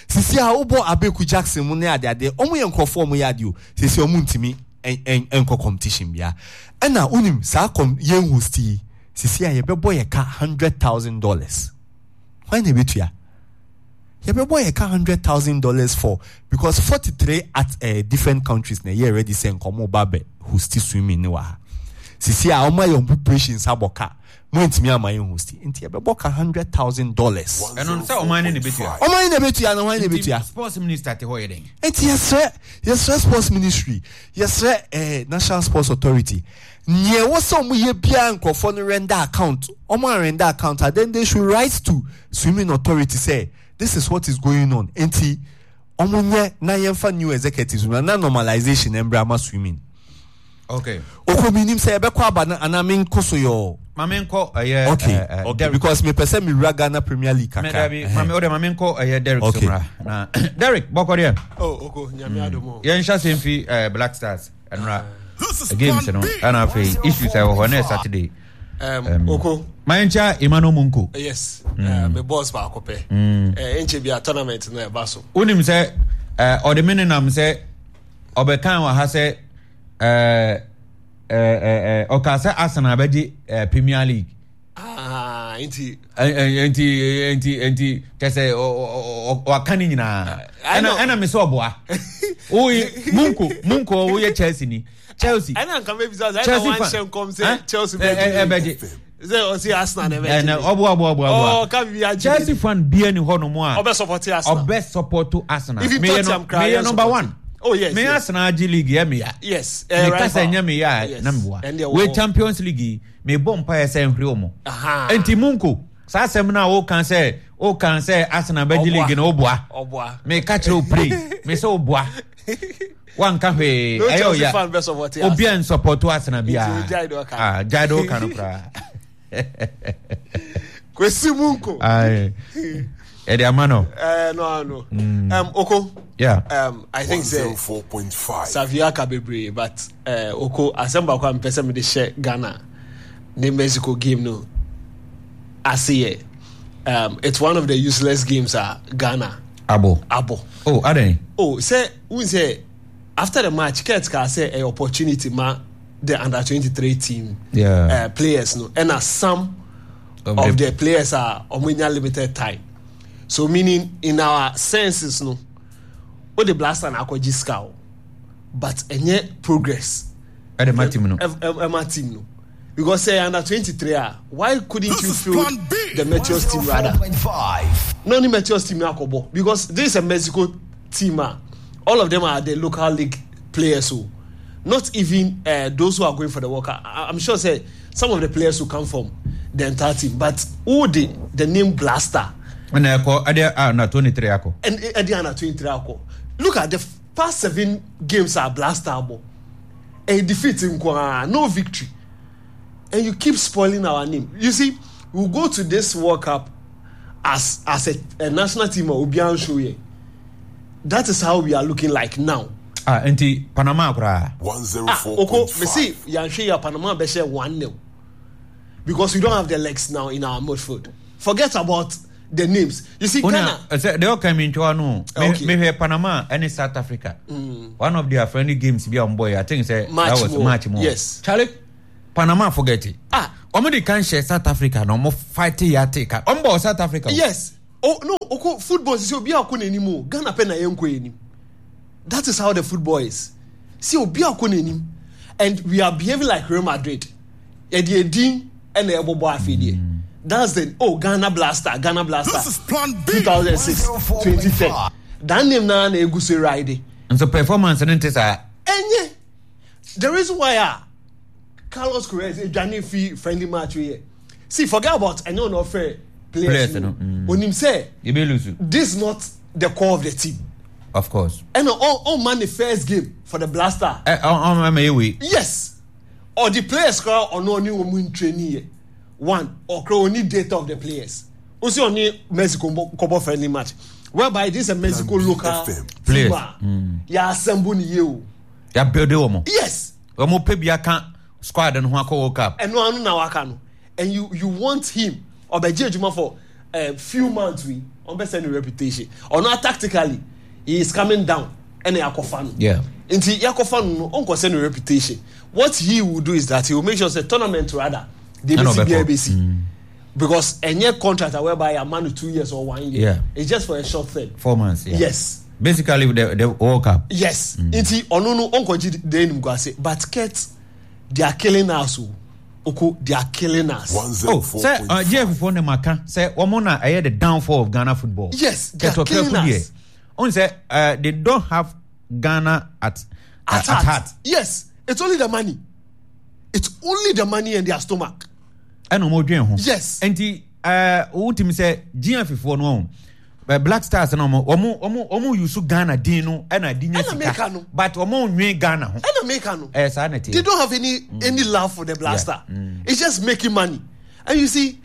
Sisi a wobɔ Abeku Jackson mu ne adeade, ɔmo yɛ nkurɔfoɔ, ɔmo yɛ adeɛ o, sisi ɔmo ntumi nkɔ competition bia. Ɛna wonim saa kɔm yɛn host yi Sisi a yɛbɛbɔ yɛ ka hundred thousand dollars. Hwan na ebetua? Yɛbɛbɔ yɛ ka hundred thousand dollars for because forty three at uh, different countries na ɛyɛ ready sɛ nkɔmɔ ba bɛ host swimming ne wɔ ha. Sisi a wɔn ayɛ wɔn preparations abɔ ka mo ntumi ama yɛn host nti yɛbɛbɔ ka hundred thousand dollars. Ɛno sɛ ɔman ne na ebetua. Ɔman ne na ebetua na hwan na ebetua? Sports minister te hɔ yɛ dɛn? Nti yɛsrɛ yɛsrɛ sports ministry, yɛsrɛ eh, National Sports Authority, nea ɛwɔ sɛ ɔmo yɛ biara, nkurɔfoɔ no render account. Ɔmo a render account a, then they should write to swimming authority say this is what is going on. Nti ɔmo nyɛ na yɛmfa new executives na na normalization mbra ama swimming. Okay. Oko mi nim sɛ yɛbɛkɔ aba na anaa mi nkɔ so yɔ. Maame nkɔ ɛyɛ. Okay. eh, eh, Okay, Derek. because mepɛ sɛ mewura Ghana Premier League Me kakra. dabi, maame o de maame nkɔ ɛyɛ Derek. Okay. Somra na Derek bɔkɔ deɛ. Oh, oko Nyame adom o. Yɛn hyɛ asɛm fi eh, Black Stars ɛnura games no, ɛna afei issues a ɛwɔ hɔ na yɛ Saturday. Um, Um, oko Ma yɛn kyɛ Emmanuel Munko. Yes, uh, me boss baako pɛ. Eh, nkyɛ bi a tournament no ɛba so. Wonim sɛ eh, ɔde me nenam sɛ ɔbɛkan wɔ ha sɛ eh, eh, eh, eh, ɔka sɛ Arsenal bɛgye eh, Premier League. Ah, nti Eh, eh, nti nti nti kyɛ sɛ ɔ- ɔ- ɔ- waka ne nyinaa. I ɛna know. Ɛna me sɛ ɔboa woyɛ Munko Munko, woyɛ Chelsea ni, Chelsea ɛna nka mebisa sɛ ɛna Chelsea fan. wanhyɛ nkɔm Eh? sɛ Chelsea Eh, eh, bɛgye. Ɛbɛgye. Sɛ ɔsi Arsenal na ɛbɛgye. Ɛna ɔboa ɔboa ɔboa Oh, ɔboa ka bibi agye. Chelsea fan bia ni hɔ nom a ɔbɛ support Arsenal. Ɔbɛ support Arsenal. Even Meyɛ no Tottenham koraa meyɛ yɛn number support. one. Oh, yes, Me yes. Arsenal agye league yɛ meya. Yes, eh, meka sɛ rival. nyɛ meyɛ a Yes. na meboa. Ɛndeɛ wɔ Wei hɔ. Champions League yi, mebɔ mpaeɛ sɛ nhwere wɔ mo. Aha. Enti Munko, saa asɛm no a woka sɛ woka sɛ Arsenal bɛgye Ɔboa. league no, woboa. Ɔboa. Meka kyerɛ wo pray me sɛ woboa, wanka hwee. No ɛyɛ Chelsea ɔya fan bɛ support obi a Arsenal. nsupɔto Arsenal biara. Nti ogyae de ɔka. Ah, gyae de woka no koraa. Kwesi Munko. Aye. Ɛde ama no. Eh, no no um, oko Yeah. um, I think say one oh four point five. Savio aka bebree, but uh, oko asɛm baako a mepɛ sɛ mede hyɛ Ghana ne Mexico game no ase yɛ, um, it's one of the useless games a Ghana abo abɔ. Oh, adɛn? Oh, sɛ wohu sɛ after the match, Kurt kaa sɛ ɛyɛ opportunity ma the under twenty-three team Yeah. uh, players no, ɛna some Of of the- the players are ɔmo nya limited time, so meaning in our senses no, o de Black Stars na akɔgye sika o, but ɛnyɛ progress. Ɛde ma team no. ɛ- ɛ- ɛma team no, because say under twenty-three ah, why couldn't This you is field Plan B. the Meteors team rather? one oh four point five. Not only Meteors team na akɔbɔ, because this is a Mexico team ah, all of them are the local league players o, not even uh, those who are going for the World Cup. I I'm sure say some of the players who come from the entire team, but who the the name Black Stars Ɛna ɛkɔ ɛde a na twenty-three akɔ. And ɛde under twenty-three akɔ. Look at the past seven games a Black Stars bɔ, a defeat nkoaa, no victory, and you keep spoiling our name. You see, we go to this World Cup as as a, a national team a obiara show yɛ. That is how we are looking like now. Ah, nti Panama koraa. Ah, oko one oh four point five. me see yanhwɛ yɛ, Panama bɛhyɛ one nil because we don't have the legs now in our midfield. Forget about the names. You see, Una Ghana sɛ deɛ ɔka mi ntwa no, me Okay. mehwɛ Panama ɛne South Africa, one of their friendly games bi a wɔn bɔ yɛ, I think sɛ Match that was more. match more. Yes. Charlie, Panama, forget it. Ah. Wɔn de kan hyɛ South Africa na wɔn fight yɛ ate ka wɔn bɔ South Africa o. Yes, oh no, oko football sisi obi akɔ n'anim o, Ghana pɛ na yɛn nkɔ anim. That is how the football is. See, obi akɔ n'anim and we are behaving like Real Madrid. Yɛde edin ɛna ɛbɔbɔ afei deɛ, that's the oh, Ghana Black Stars, Ghana Black Stars. This is Plan B. two thousand six, twenty ten, that name na na egu so ride. Nso performance no nte saa. Ɛnyɛ the reason why ah, Carlos Queiroz edwane fi friendly match wey yɛ. See, forget about ɛnyɛ ɔna ɔfɛ players Players no. no, mm. Onim sɛ yɛbɛ lose. This not the core of the team. Of course. Ɛna ɔn ɔn man the first game for the Black Stars. Ɛ ɔn ɔn ɛmɛ yɛ wei. Yes, or the players kora ɔno ɔne wɔn mu training yɛ one, ɔkora oni data of the players o si ɔne Mexico kɔbɔ friendly match whereby this is a Mexico Plan B local F M. team Players. a yɛ assemble ni yie o. Yà build wɔn. Yes. Wɔn pɛ bi aka squad no ho akɔ World Cup. Ɛno ano na waka no, and you you want him ɔbɛgye adwuma for a few months wi ɔbɛsɛ ne reputation ɔno tactically he is coming down, ɛna yakɔfa no. Yeah. Nti yakɔfa no no, ɔnkɔsɛ ne reputation. What he will do is that he will make sure say tournament rather They Ɛna be ɔbɛkɔ. B C. Because any contract whereby a man with two years or one year, Yeah. it's just for a short term. Four months. Yeah. Yes. Basically the the World Cup. Yes. Nti ono no onkoji de enim kwase but Kurt they are killing us. Oko they are killing us. Oh, sɛ uh, G F four ne maka sɛ wɔn na ɛyɛ the downfall of Ghana football. Yes, they are Kurt killing Okraku us. deɛ, ɔn sɛ uh, they don't have Ghana at uh, At, at heart. heart. Yes, it's only the money. It's only the money and their stomach. Ɛna wɔn dwen ho. Yes. Nti ɛɛ wotumi sɛ G F four no wɔn Black Stars na wɔn wɔn wɔn wɔn use Ghana din no ɛna di nya Ɛna sika. meka no. But wɔn nwen Ghana ho. And America no. Ɛɛ saa na ti. They don't have any any love for the Blaster. Yeah. Mm. It's just making money. And you see,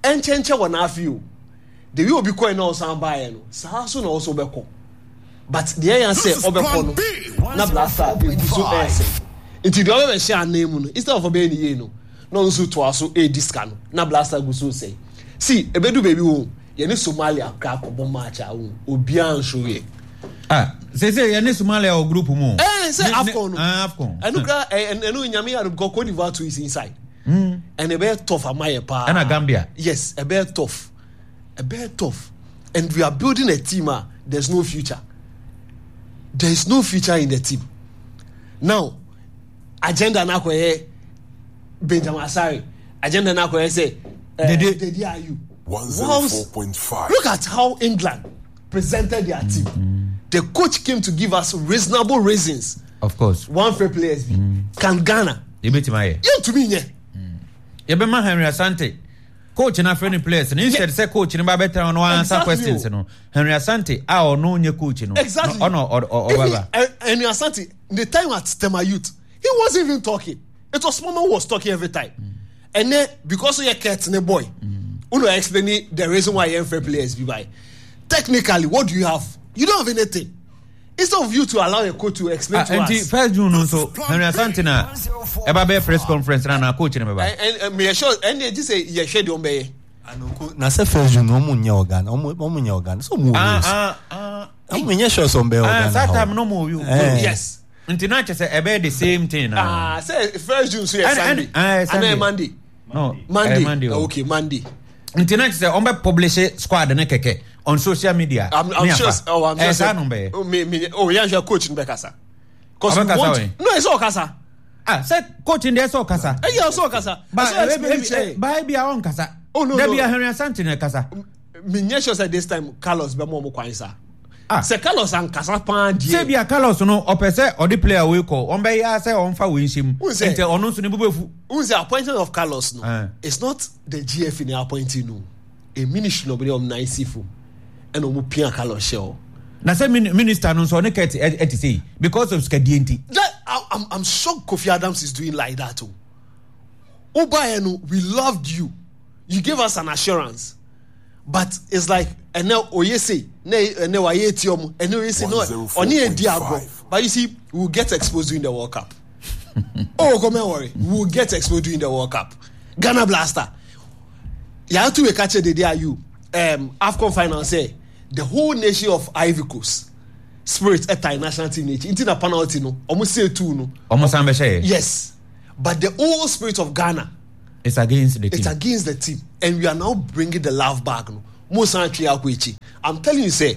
enchenche wɔ n'afi o. The way obi kɔ na ɔsan baayɛ no, saa so na ɔso bɛkɔ. But the yɛn sɛ ɔbɛkɔ no, na Blaster egu so ɛsɛ. Nti deɛ ɔbɛbɛhyɛ anan mu no, instead of ɔbɛyɛ ne yie no, na ɔno nso toa so edi sika no, na Blaster gu so sɛ. See, ebedu baabi wo, yɛne Somalia kora akɔbɔ match a wo, obiara nso yɛ. Ah, sese yɛne Somalia wɔ group mu. Eh, sɛ Ne- ne- AFCON no. Ah, AFCON. Ɛnu kora ɛ ɛnu nyame yɛ because Cote d'Ivoire too is inside. Mm. And ɛbɛyɛ tough ama yɛ paa. Ɛna Gambia. Yes, ɛbɛyɛ tough. Ɛbɛyɛ tough. And we are building a team ah, there's no future. There is no future in the team. Now, agenda na akɔyɛ Benjamin Asare. Agenda na akɔyɛ sɛ eh, Dede. Dede Ayew. one zero four point five. Look at how England presented their team. Mm. The coach came to give us reasonable reasons. Of course. One fair players be. Can Ghana? Yɛbɛtumi ayɛ. You to me, yeah. Yɛbɛma Henry Asante coach na friendly players no instead sɛ coach no ba bɛtena no answer Exactly. questions no Henry Asante a ɔno nyɛ coach no Exactly. ɔno ɔ- ɔ- Even ɔbɛba eh, Henry Asante, the time at Tema Youth, he wasn't even talking. It was Mama who was talking every time. And then because of your cat ne boy, who no explaining the reason why you're fair players be by. Technically, what do you have? You don't have anything. Instead of you to allow a coach to explain Ah, to nti us. first June no nso Henry Asante na ɛba bɛyɛ press conference na na coach no bɛba And and, and me sure and they just say yeah, share the ombe. Na sɛ first June ɔmo nyɛ organ ɔmo ɔmo nyɛ organ so ɔmo wɔ Ah, rules. ah, ah. Ɔmo nyɛ sure sɛ ɔmo bɛyɛ Ah, organ saa ha o. time no mo wɔ Eh. Yes. nti na kyerɛ sɛ ɛbɛyɛ the same thing na Ah, say first June so yeah, And- Sunday. and- ah, And Sunday. then Monday. no Monday. eh, Monday o. Okay, Monday. nti na kyerɛ sɛ ɔmbɛ publish squad ne kɛkɛ on social media I'm, I'm ne sure. afa. Oh, I'm Eh, sure. saa no bɛyɛ Oh, me, me, oh, yeah, sure. Coach in Bekasa. Cause we Ɔbɛkasa want. wɛn? No, it's all kasa. ah sɛ coach n deɛ sɛ ɔkasa Eh, yeah, it's all kasa. ba It's all ebi explain ebi it, eh. ba ebi a ɔnkasa Oh, no, dabi no. a Henry Asante na kasa Me nyɛ sure sɛ this time Carlos bɛ mo ɔmo kwan sa. Ah. Sɛ Carlos ankasa paa deɛ. sɛ bi a Carlos no ɔpɛ sɛ ɔde player wei kɔ ɔmbɛyɛ sɛ ɔmfa wei nhyɛ mu Who sɛ? nti ɔno nso ne bo bɛfu Who say appointment of Carlos no? Eh. It's not the G F in the appointing no. A ministry no bɛ ɔmo nan si fo. Ɛna ɔmo pia Carlos hyɛ o. na sɛ min- minister no nso ɔne kɛt ɛte sɛ yi because of sikadie nti That I, I'm I'm shocked Kofi Adams is doing like that o. Obayeno, we loved you. You gave us an assurance. But it's like ɛnɛ oye say ne ɛnɛ waye eti ɔmo ɛnɛ oye say no ɔne edi agorɔ but you see we will get exposed during the World Cup. Oh, come and worry, we will get exposed during the World Cup. Ghana Blaster. Yàtú we catch the day you um, AFCON final say the whole nation of Ivory Coast spirit ɛta national team n'ekyi nti na penalty no ɔmo say two no. ɔmo san bɛhyɛ yɛ Yes, but the whole spirit of Ghana. It's against the team. It's against the team, and we are now bringing the love back. No, Mo san twe akɔ ekyi. I'm telling you, say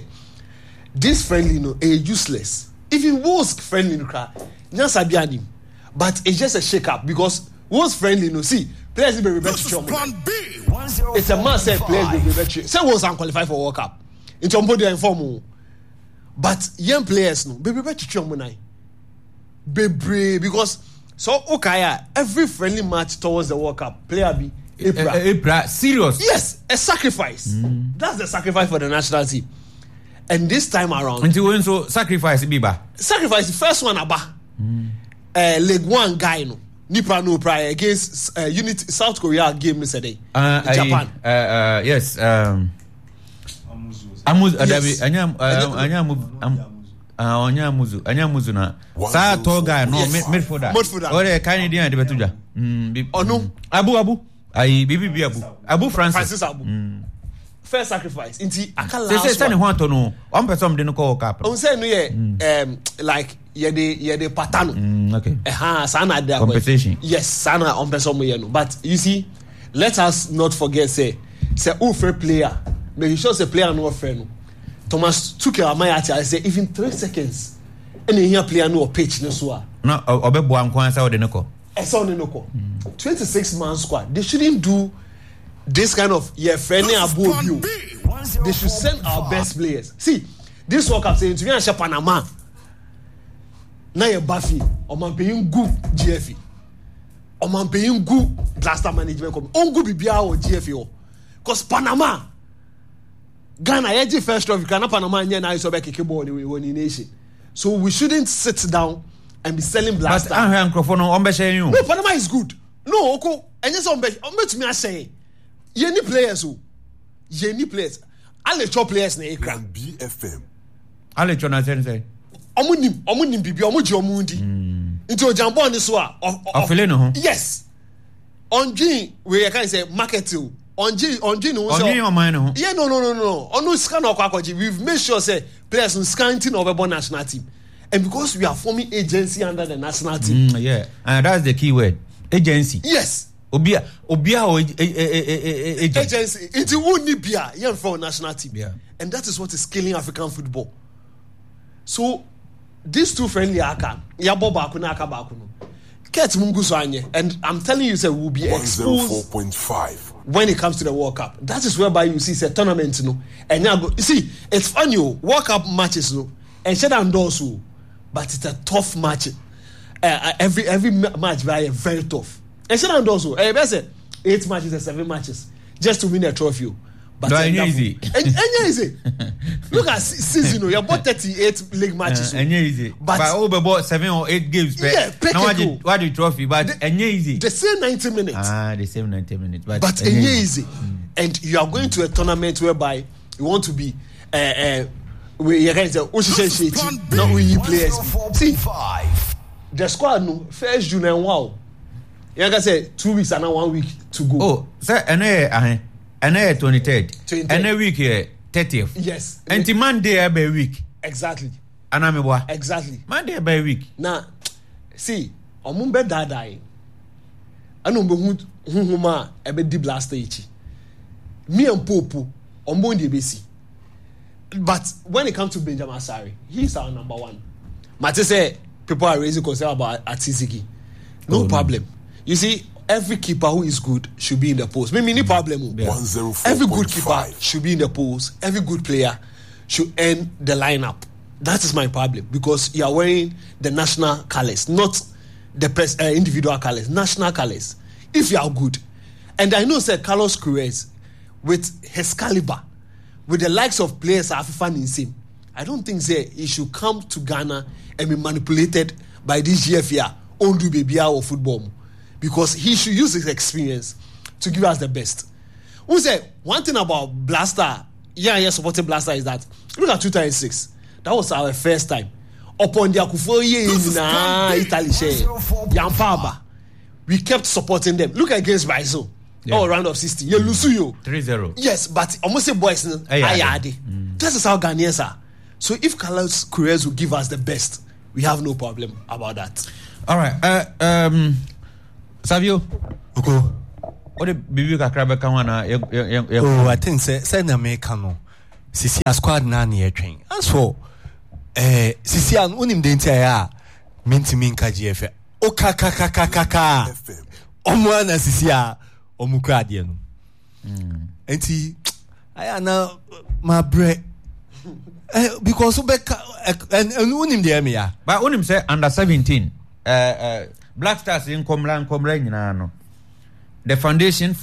this friendly no, eh, useless. Even Wolves friendly no kra, nyansa bi anim, but it's just a shake up because Wolves friendly no. See, players be rebel to It's a man say players be rebel to. Say Wolves unqualified for World Cup. Nti ɔmo de inform o. But young players no, be rebel to ɔmo nan. Bebree because so okay, ah, every friendly match towards the World Cup, player be April. Eh, eh, April, serious. Yes, a sacrifice. Mm. That's the sacrifice for the national team. And this time around, Nti wo nso sacrifice bi ba. sacrifice the first one aba. Mm. Uh, leg one guy no. Nipa no prior against uh, unit South Korea game yesterday. Uh, Japan. Uh, uh, yes. Um, Amuzu. Uh, Yes. Dabi, anya uh, anya amu. Ah, onya amuzu, anya amuzu na. Saa tall guy no Yes. mid midfielder. Midfielder. Ore kan di na de betu dwa. Mm, bi. Ono. Abu Abu. Ayi bibi bi Abu. Abu Francis. Francis Abu. Mm. First sacrifice nti aka last one. Sɛ sɛ ne ho atɔ no ɔmpɛ sɛ ɔmde no kɔ World Cup. Ɔn sɛ no yɛ um, like yɛde yɛde pata no. Mm, okay. Ɛha saa na ade akɔ. Compensation. Yes, saa na ɔmpɛ sɛ ɔmo yɛ no, but you see, let us not forget sɛ sɛ ofrɛ player, make sure sɛ player no ɔfrɛ no, Thomas Tuchel ama yɛ ate ase sɛ even three seconds ɛna ehia player no wɔ pitch no so a. Na ɔbɛboa nko ara sɛ ɔde no kɔ. Ɛsɛ ɔne no kɔ. Twenty six man squad, they shouldn't do this kind of yɛfrɛ ne abo obi o. They should send our best players. See, this World Cup sɛ ntumi ahyɛ Panama na yɛ ba fie, ɔmanpanyin gu G F A, ɔmanpanyin gu Black Star management committee, ɔngu biribiara wɔ G F A hɔ, cause Panama, Ghana yɛgye first trophy kra na Panama nyɛ na ayɛ sɛ ɔbɛkeke bɔɔl ne wɔ ne nation, so we shouldn't sit down and be selling But Black Star. Ahwɛ nkurɔfoɔ no ɔmbɛhyɛ yɛn o. No, Panama is good. No, oko ɛnyɛ sɛ ɔmbɛ ɔmbɛtumi ahyɛ yɛn. Yɛn ni players o, yɛn ni players, aletsɔ players na ekura. B F M. Aletsɔ na sɛn sɛ. Ɔmo nim ɔmo nim bibi, ɔmo gye ɔmo di nti ogyan bɔɔl ni so a ɔ- ɔ- Ɔfele ne ho. Yes, ɔndwin wei yɛ kan sɛ market o, ɔndwin ɔndwin ne ho sɛ Ɔnwin ɔman ne ho. Yeah, no no no no ɔno sika na ɔkɔ akɔgye. We've made sure say players no sika nti na ɔbɛbɔ national team, and because we are forming agency under the national team. Mm, yeah, uh, that's the key word, agency. Yes. Obi a obi a ɔ agent. Agency nti wunni bia yɛn fɛ o national team. Yeah. And that is what is killing African football. So these two friendly aka, yabɔ baako na aka baako no, kurt mu ngu so anyɛ, and I'm telling you say we will be exposed one oh four point five. When it comes to the World Cup. That is whereby you see say tournament no ɛnyɛ ago. You see, it's funny o, World Cup matches no ɛnhyɛ da ndɔɔso o, but it's a tough match. uh, every every match bi ayɛ very tough. Ɛnhyɛ da ndɔɔso, ɛyɛ bɛ sɛ eight matches or seven matches just to win a trophy o. But No, ɛnyɛ easy. Ɛnyɛ easy. Look at season o, yɛ bɔ thirty eight league matches o. Ɛnyɛ easy. But but o bɛ bɔ seven or eight games pɛ. Yeah, pɛ na keke o. wagye wagye trophy, but ɛnyɛ easy. The same ninety minutes. Ah, the same ninety minutes, but but ɛnyɛ easy, and you are going to a tournament whereby you want to be uh, uh, we yɛ kan sɛ o ṣiṣẹ ṣe eti na o yi players bi. See the squad no, first June ɛnwa o, yɛn ka sɛ two weeks ana one week to go. Oh, sɛ ɛnɛ yɛ ahen? Ɛnɛ yɛ twenty third. twenty-third. Ɛnɛ week yɛ thirtieth. Yes. Nti Monday ɛbɛ week. Exactly. Anamibua. Exactly. Monday ɛbɛ week. Na see, ɔmo bɛ daadaa yi, ɛna ɔmo bɛ hu huhum a ɛbɛ di Black Star akyi, me and Popo, ɔmo bɛ deɛ ebesi. But when it comes to Benjamin Asare, he is our number one. Mate sɛ people are raising concern about Atizigi. No Oh, no. problem. You see, every keeper who is good should be in the post. Me me ni problem o. Every good keeper one oh four point five. Should be in the post. Every good player should earn the lineup. That is my problem, because you are wearing the national colors, not the pers- uh, individual colors, national colors. If you are good, and I know say Carlos Queiroz, with his caliber, with the likes of players Afifa Ninsim, I don't think say he should come to Ghana and be manipulated by this G F A Ondu baby or football, because he should use his experience to give us the best. Who say one thing about Black Star, yeah, yeah, supporting Black Star is that look at two thousand six. That was our first time. Upon the Akufo nyinaa Italy share Yampaba, we kept supporting them. Look against Brazil. Yeah. Oh, round of sixty. You lose you. three zero. Yes, but almost say boys no. Ɛyɛ ade. Ayɛ ade. That is how Ghanaians are. So if Carlos Queiroz will give us the best, we have no problem about that. All right. Uh, um, Savio. Oko. Wode biribi kakra bɛka ho anaa yɛ- yɛ- yɛ- yɛ- Oh, I think sɛ sɛ na meka no, sisi a squad na ne yɛtwɛn. As for eh, sisi a wonim de nti a ɛyɛ a mentumi nka G F A wokakakakaka F M. ɔmo ana sisi a ɔmo kura adeɛ no, nti ayɛ ana mabrɛ eh, because wobɛka ɛno wonim deɛ ɛmeya. But wonim sɛ under seventeen uh, uh, Black Stars nkɔmmra nkɔmmra nyinaa no, the foundation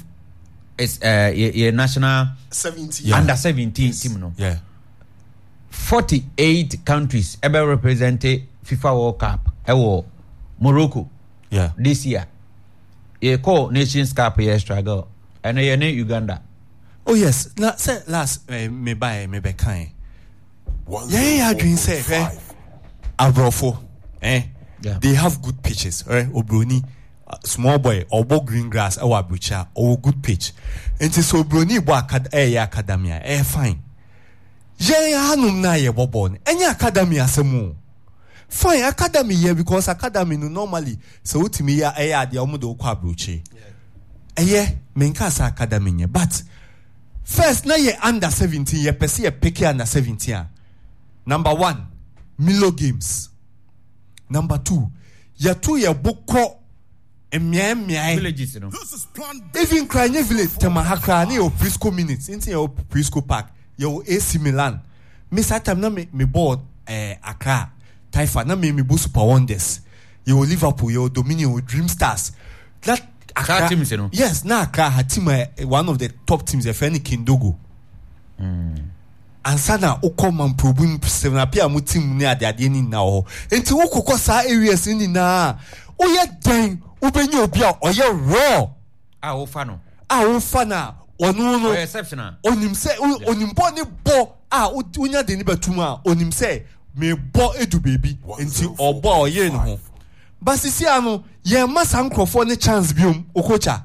is uh, yɛ, yɛ national seventy. Yeah. under seventeen team no. Yeah. forty-eight countries ɛbɛ represent FIFA World Cup ɛwɔ Morocco Yeah. this year. Yɛkɔ Nations Cup, yɛ struggle, ɛno yɛ ne Uganda. Oh yes, na sɛ last eh, mebaɛ mebɛkae yɛyɛ yɛ adwene sɛ hwɛ aborɔfo eh, Yeah. they have good pitches, eh, obroni Small boy ɔbɔ green grass ɛwɔ aburokyi a ɔwɔ good pitch. Nti sɛ oburoni bɔ akad ɛyɛ academy a ɛyɛ fine. Yɛn hanom na yɛbɔ bɔɔl no ɛnyɛ academy asɛm o. Fine, academy yɛ because academy no normally sɛ wotumi yɛ ɛyɛ adeɛ ɔmo de wokɔ aburokyi. Ɛyɛ menka sɛ academy nyɛ, but first na yɛ under seventeen yɛpɛ sɛ yɛ pick under seventeen a, number one, Milo Games. Number two, yɛto yɛ bo kɔ mmeae mmeae. Villages no. Even kra nye village Tema ha kra ne yɛwɔ Prisco minutes nti yɛwɔ Prisco Park, yɛwɔ A C Milan. Me saa time na me me bɔɔ eh, Accra Taifa na me me bɔ Super Wonders. Yɛwɔ Liverpool, yɛwɔ Dominion, yɛwɔ Dream Stars. That Accra, Saa teams no. Yes, na Accra ha team a, one of the top teams yɛfrɛ no Kindogo. Mm. Ansa na wokɔ Mamprobu Sevenapia mu team ne adeadeɛ ne nyinaa wɔ hɔ. Nti wokɔkɔ saa areas no nyinaa a, woyɛ dɛn wobɛnya obi a ɔyɛ raw a wofa no a wofa no a ɔno no ɔyɛ exceptional. Onim sɛ onim bɔ ne bɔ a wonya de ne bɛtum a onim sɛ mebɔ edu baabi nti ɔbɔ a ɔyere ne ho. Basisi ano yɛn ma saa nkurɔfoɔ ne chance biom Okocha.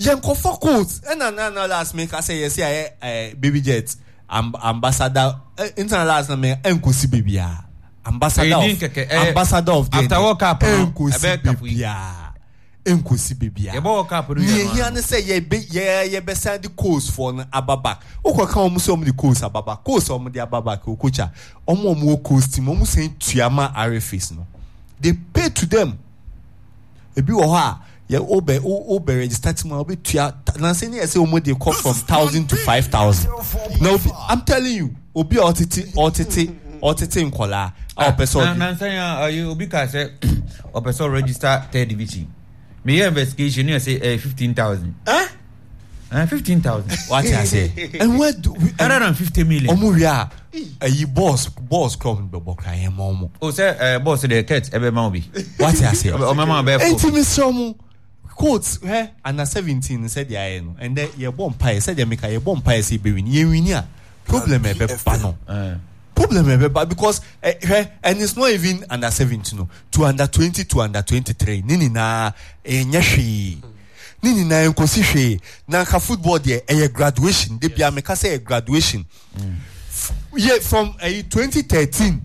Yɛn kɔfa coach ɛna na na last me ka sɛ yɛsi ayɛ ɛɛ baby jet amb ambassador ɛ ntina last na me ɛnkosi baabi a ambassador of ambassador of the after World Cup no ɛnkosi baabi a ɛnkosi baabi a yɛbɔ World Cup no nea ehia ne sɛ yɛbɛ yɛ yɛbɛsan de coach foɔ no aba back. Wokɔ ka wɔn sɛ wɔn de coach aba back, coach wɔn de aba back Okocha, wɔn a wɔn wɔ coach team wɔn sɛn tua ma R F As no, they pay to them. Ebi wɔ hɔ a yɛ wobɛ wobɛ register team a wobɛtua nansi ne yɛ sɛ wɔn de kɔ from thousand to five thousand. Na obi, I'm telling you, obi a ɔtete ɔtete ɔtete nkɔlaa a ɔpɛ sɛ ɔde. Nansa yɛn ayi obi ka sɛ ɔpɛ sɛ ɔregister third division. Meyɛ investigation ne yɛ sɛ ɛyɛ fifteen thousand. Eh? Uh, fifteen thousand. What I say? And what do we? Hundred and fifty million. Omu wia ayi boss boss club no bɛbɔ kra yɛn mɔ ɔmo. O sɛ ɛ boss de kɛt ɛbɛ ma obi. What I say? Ɔmɛ ma bɛ fɔ. Enti mi sɛ ɔmo coach hɛ under seventeen sɛ deɛ ayɛ no ɛndɛ yɛ bɔ mpa yɛ sɛ deɛ meka yɛ bɔ mpa yɛ sɛ ebe win yɛ win a problem ɛbɛ ba no. Problem ɛbɛ ba because hwɛ and it's not even under seventeen no to under twenty to under twenty three ne nyinaa ɛnyɛ hwee. Ne nyinaa nkosi hwee. Na nka football deɛ ɛyɛ graduation. De bia meka sɛ ɛyɛ graduation. Yɛ from ɛyi twenty thirteen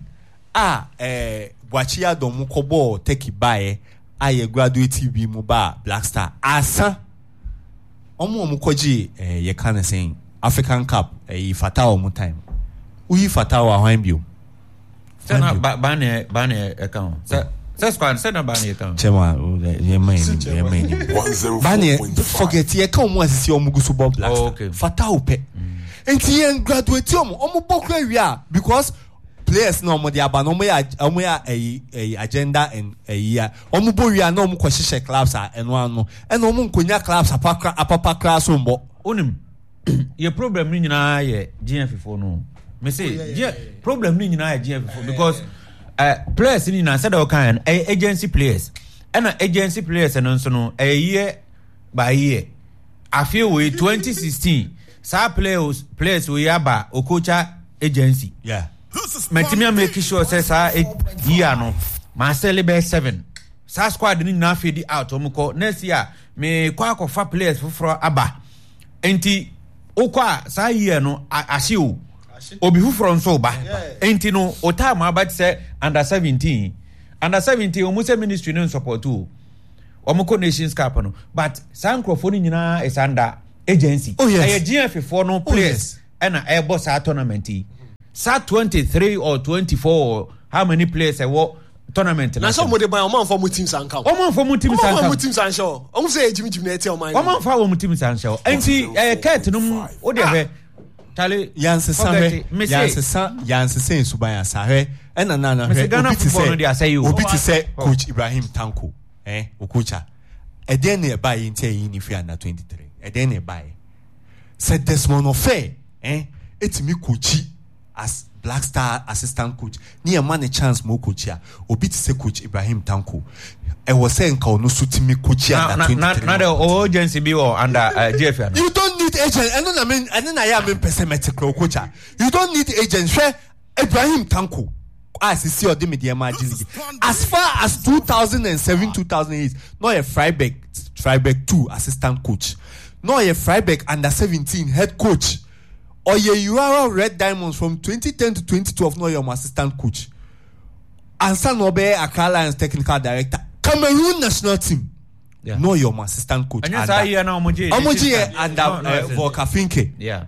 a ɛɛ Boakye Adom kɔ bɔɔ Turkey baeɛ a yɛ graduate bi mu ba Black Star asa. Ɔmo ɔmo kɔgye ɛɛ yɛ ka ne sɛn African Cup ɛyi Fatawu ɔmo time. Uyi Fatawu ahwan bio. Sɛ na ba ba ne ba ne ɛka ho. Sɛ sɛ squad sɛ na ba ne ɛka ho. Chema yɛ ma yɛ yɛ ma yɛ. Ba ne forget yɛ ka ɔmo asisi ɔmo gu so bɔ Black Star. Fatawu pɛ. Nti yɛn graduate ɔmo ɔmo bɔ kura wia because players na ɔmo de aba na ɔmo yɛ ɔmo yɛ ɛyi ɛyi agenda and ɛyi a ɔmo bɔ wia na ɔmo kɔ hyehyɛ clubs a ɛno ano ɛna ɔmo nkonya clubs apakra apapakra so mbɔ. Onim yɛ problem ni nyinaa yɛ G F foɔ no. Me say, oh, yeah, yeah, yeah. Problem ni nyinaa yɛ G F foɔ because uh, players ni nyinaa sɛdeɛ ɔka yɛn ɛyɛ agency players ɛna agency players no nso no ɛyɛ year by year afei wɔ yi twenty sixteen saa players players wɔ yi aba Okocha agency. Yeah. Mɛtumi a make sure sɛ saa year no maa sɛle bɛyɛ seven saa squad ni nyinaa fade out wɔn kɔ next year me kɔ akɔfa players foforɔ aba. Nti wokɔ a saa year no ahye o obi foforɔ nso ba nti no o time aba te sɛ under seventeen under seventeen wɔn sɛ ministry no nsupport o wɔn kɔ Nations Cup no but saa nkurɔfoɔ no nyinaa is under agency. Oh yes. Ɛyɛ G F foɔ no players ɛna ɛbɔ saa tournament yi saa twenty three or twenty four or how many players ɛwɔ tournament na sɛ ɔmo de ban ɔmo anfa ɔmo team sanka o ɔmo anfa ɔmo team sanka ɔmo anfa ɔmo team sanhyɛ o ɔmo sɛ ejim jim na ɛte ɔmo anyi ɔmo anfa ɔmo team sanhyɛ o nti ɛyɛ kɛɛt no mu o de hwɛ tale yansesa hwɛ yansesa yansesa nsuban asa hwɛ ɛna nana hwɛ obi ti sɛ obi ti sɛ coach Ibrahim Tanko ɛn Okocha ɛdɛn na ɛba yi nti ɛyi ni fi under twenty three ɛdɛn na ɛba yi sɛ Desmond Ofei ɛn etimi coachi as Black Star assistant coach ni yɛ ma ne chance mo coach a obi ti sɛ coach Ibrahim Tanko ɛwɔ sɛ nka ɔno so timi coach under twenty three. Na de o agency bi wɔ under uh, G F A. You don't need agent ɛno na me ɛno na yɛ a me mpɛ sɛ mɛte kura coach a you don't need agent hwɛ Ibrahim Tanko A sisi ɔde Medeama agye league. As far as two thousand and seven, two thousand eight, na ɔyɛ Freiburg, Freiburg two assistant coach. Na ɔyɛ Freiburg under seventeen head coach. Ɔyɛ Urawa Red Diamonds from twenty ten to twenty twelve na ɔyɛ ɔmo assistant coach. Ansa na ɔbɛyɛ Accra Lions technical director. Cameroon national team. Yeah. Na ɔyɛ ɔmo assistant coach. Ɛnyɛ saa year na ɔmo gye. Ɔmo gye yɛ under No, no, uh, Volker Finke. Yeah.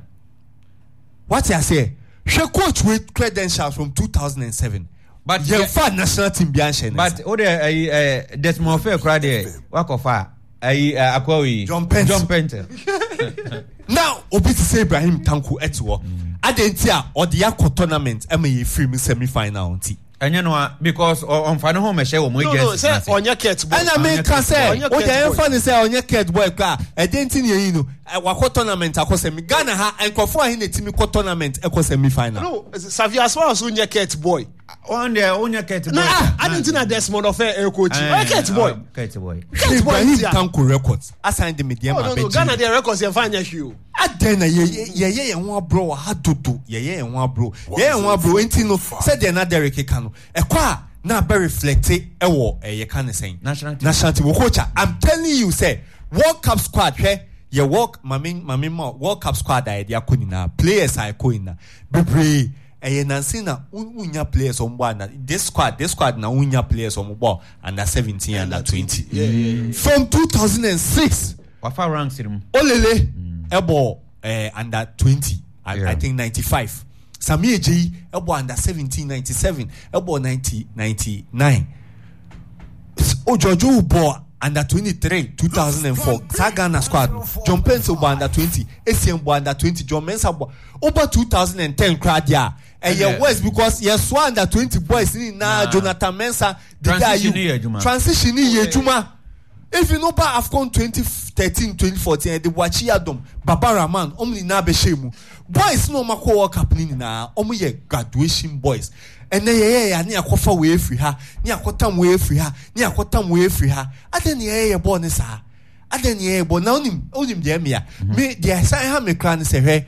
What you say? Hwɛ coach with credentials from two thousand and seven. But yɛn fa national team bi anhyɛ ne But o de ayi ɛ Desmond Ofei kura deɛ wakɔfa ayi ɛ akɔwi yi. John Paintsil. John Paintsil. Now obi ti sɛ Ibrahim Tanko ɛte hɔ. Adi nti a ɔde akɔ tournament ɛma yɛ firi mu semi final nti. Ɛnyɛ no a because ɔnfa ne ho mɛhyɛ wɔn No, no, agencies sɛ n'ase. ɔnyɛ Kurt boy. Ɛna mi ka sɛ Ɔnyɛ o de Kurt ɛnfa boy. ne sɛ ɔnyɛ Kurt boy kora ɛdi nti ni eyi no ɛ, wakɔ tournament akɔ semi Ghana ha nkurɔfoɔ ahe na etimi kɔ tournament ɛkɔ semi final. No, Xavier, as far as wonyɛ Kurt boy. Ɔn deɛ ɔnyɛ Kurt boy. Na ah, adi nti na Desmond Ofei ɛ coach. Ɔyɛ Kurt boy. Kurt boy. Kurt boy Ibrahim nti a. Tanko records asan de Medeama Oh, no, no, abɛgye. Ghana deɛ records yɛn fa nyɛ hwee o. Adɛn na yɛyɛ yɛyɛ yɛn ho aborɔ wɔ ha dodo yɛyɛ yɛn ho aborɔ yɛyɛ yɛn ho aborɔ nti no sɛdeɛ na Derek ka no ɛkɔ a na abɛ reflect ɛwɔ ɛyɛ ka ne sɛn National team. national team coach a I'm telling you sɛ World Cup squad hwɛ yɛ World maame maame ma World Cup squad a yɛde akɔ nyinaa players a ɛkɔ nyinaa bebree ɛyɛ nansi na wunya players ɔmo bɔ under this squad this squad na wunya players ɔmo bɔ under seventeen under twenty from two thousand and six. Wafa ranks mu. Olele ɛbɔ ɛɛ under twenty I, Yeah. I think ninety five Sami Ejeyi ɛbɔ under seventeen ninety seven ɛbɔ ninety ninety nine Ojojo bɔ under twenty three two thousand and four saa Ghana squad no John Paintsil bɔ under twenty Essien bɔ under twenty John Mensah bɔ over two thousand and ten kora deɛ a ɛyɛ Yeah. worse because yɛsoa under twenty boys ni nyinaa Nah. Jonathan Mensah Dede Transition Ayew ni yɛ adwuma. transition ni yɛ adwuma if you no ba AFCON twenty thirteen twenty fourteen ɛde Boakye Adom Baba Rahman ɔmo nyinaa bɛhyɛ mu boys na ɔmo akɔ World Cup ni nyinaa ɔmo yɛ graduation boys ɛnɛ yɛyɛ yɛ ne akɔfa wei efiri ha ne akɔtam wei efiri ha ne akɔtam wei efiri ha adan ne yɛyɛ yɛ bɔɔl ne saa adan ne yɛyɛ bɔɔl na onim onim deɛ mmea me deɛ ɛsan ha me kora ne sɛ hwɛ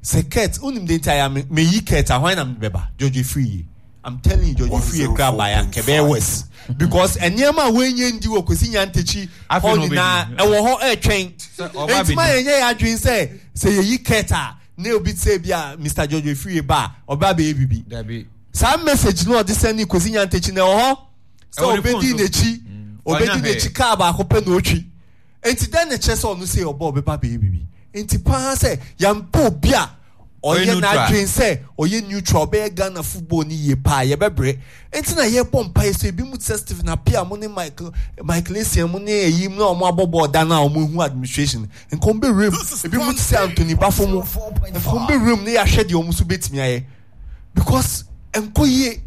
sɛ Kurt onim deɛ nti a me me yi Kurt ahwan na me bɛba George Afriyie I'm telling you George Afriyie kora ba ya nkɛbɛyɛ worse because nneɛma a wɔnyɛ ndi wɔ Kwesi Nyantakyi Afei hɔ na ɔbɛdi. nyinaa ɛwɔ hɔ ɛretwɛn Sɛ ɔba nti ma abɛdi. yɛn nyɛ yɛ adwene sɛ sɛ yɛyi Kurt a ne obi sɛ bi a Mr George Afriyie ba a ɔba abɛyɛ bibi Dabi. saa message no ɔde send Kwesi Nyantakyi na ɛwɔ hɔ sɛ Ɛwɔ ne ɔbɛdi phone so. n'akyi ɔbɛdi Ɔnya n'akyi kaa baako pɛ na otwi nti dɛn na kyerɛ sɛ ɔno sɛ ɔbɔ ɔbɛba abɛyɛ bibi nti paa sɛ yɛmpɛ obi a Ɔyɛ ɔyɛ neutral. n'adwene sɛ ɔyɛ neutral ɔbɛyɛ Ghana football ni yie paa yɛbɛbrɛ nti na yɛbɔ mpa yɛ so ebi mu te sɛ Stephen Appiah mo ne Michael Michael Essien mo ne eyi mu na ɔmo abɔ bɔɔl da na ɔmo ehu administration nka ɔmo bɛwura mu ebi mu te sɛ Anthony Bafo mo nka ɔmo bɛwura mu ne yɛahwɛ deɛ ɔmo nso bɛtumi ayɛ because nkɔ yie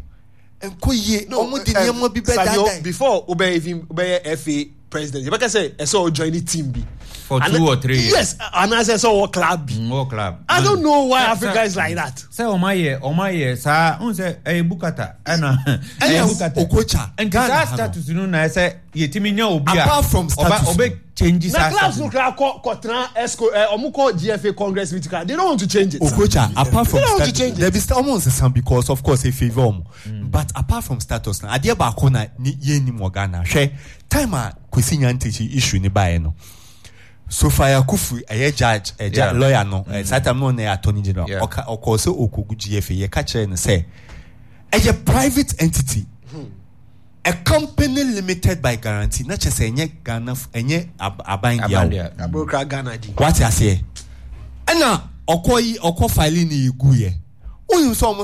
nkɔ yie ɔmo de nneɛma bi bɛ Savio, daadaa before obɛ even obɛyɛ FA president yɛbɛka sɛ ɛsɛ ɔ join the team bi. For two or three years. Yes, anaasɛ ɛsɛ ɔwɔ club bi. Mm, World club. I don't know why Sɛ- Africa sɛ- is like that. Sɛ ɔmo ayɛ ɔmo ayɛ saa n sɛ ɛyɛ Bukata ɛna ɛyɛ ɛna Bukata. Okocha Nti Ghana saa ha no status no na ɛsɛ yɛtumi nya obi a Apart from status ɔba ɔbɛ change Na saa clubs status. no kora kɔ kɔtena esco ɛ ɔmo kɔ GFA congress meeting kora they don't want to change it. Okocha apart from They don't want to status change it. there be sta ɔmo nsesa because of course e favour ɔmo but apart from status na adeɛ baako na ni yɛn nim wɔ Ghana hwɛ time a Kwesi Nyantakyi issue ne baeɛ no Sophia Kufu ɛyɛ judge ɛyɛ Yeah. lawyer no ɛ saa time no ɔna yɛ attorney general Yeah. ɔka ɔkɔɔ sɛ okogu GFA yɛka kyerɛ no sɛ ɛyɛ private entity a company limited by guarantee na kyerɛ sɛ ɛnyɛ Ghana ɛnyɛ ab- aban dea o Aban dea. Aburokra Ghana di. wate aseɛ ɛna ɔkɔ yi ɔkɔ file ne yɛ gu yɛ wonim sɛ ɔmo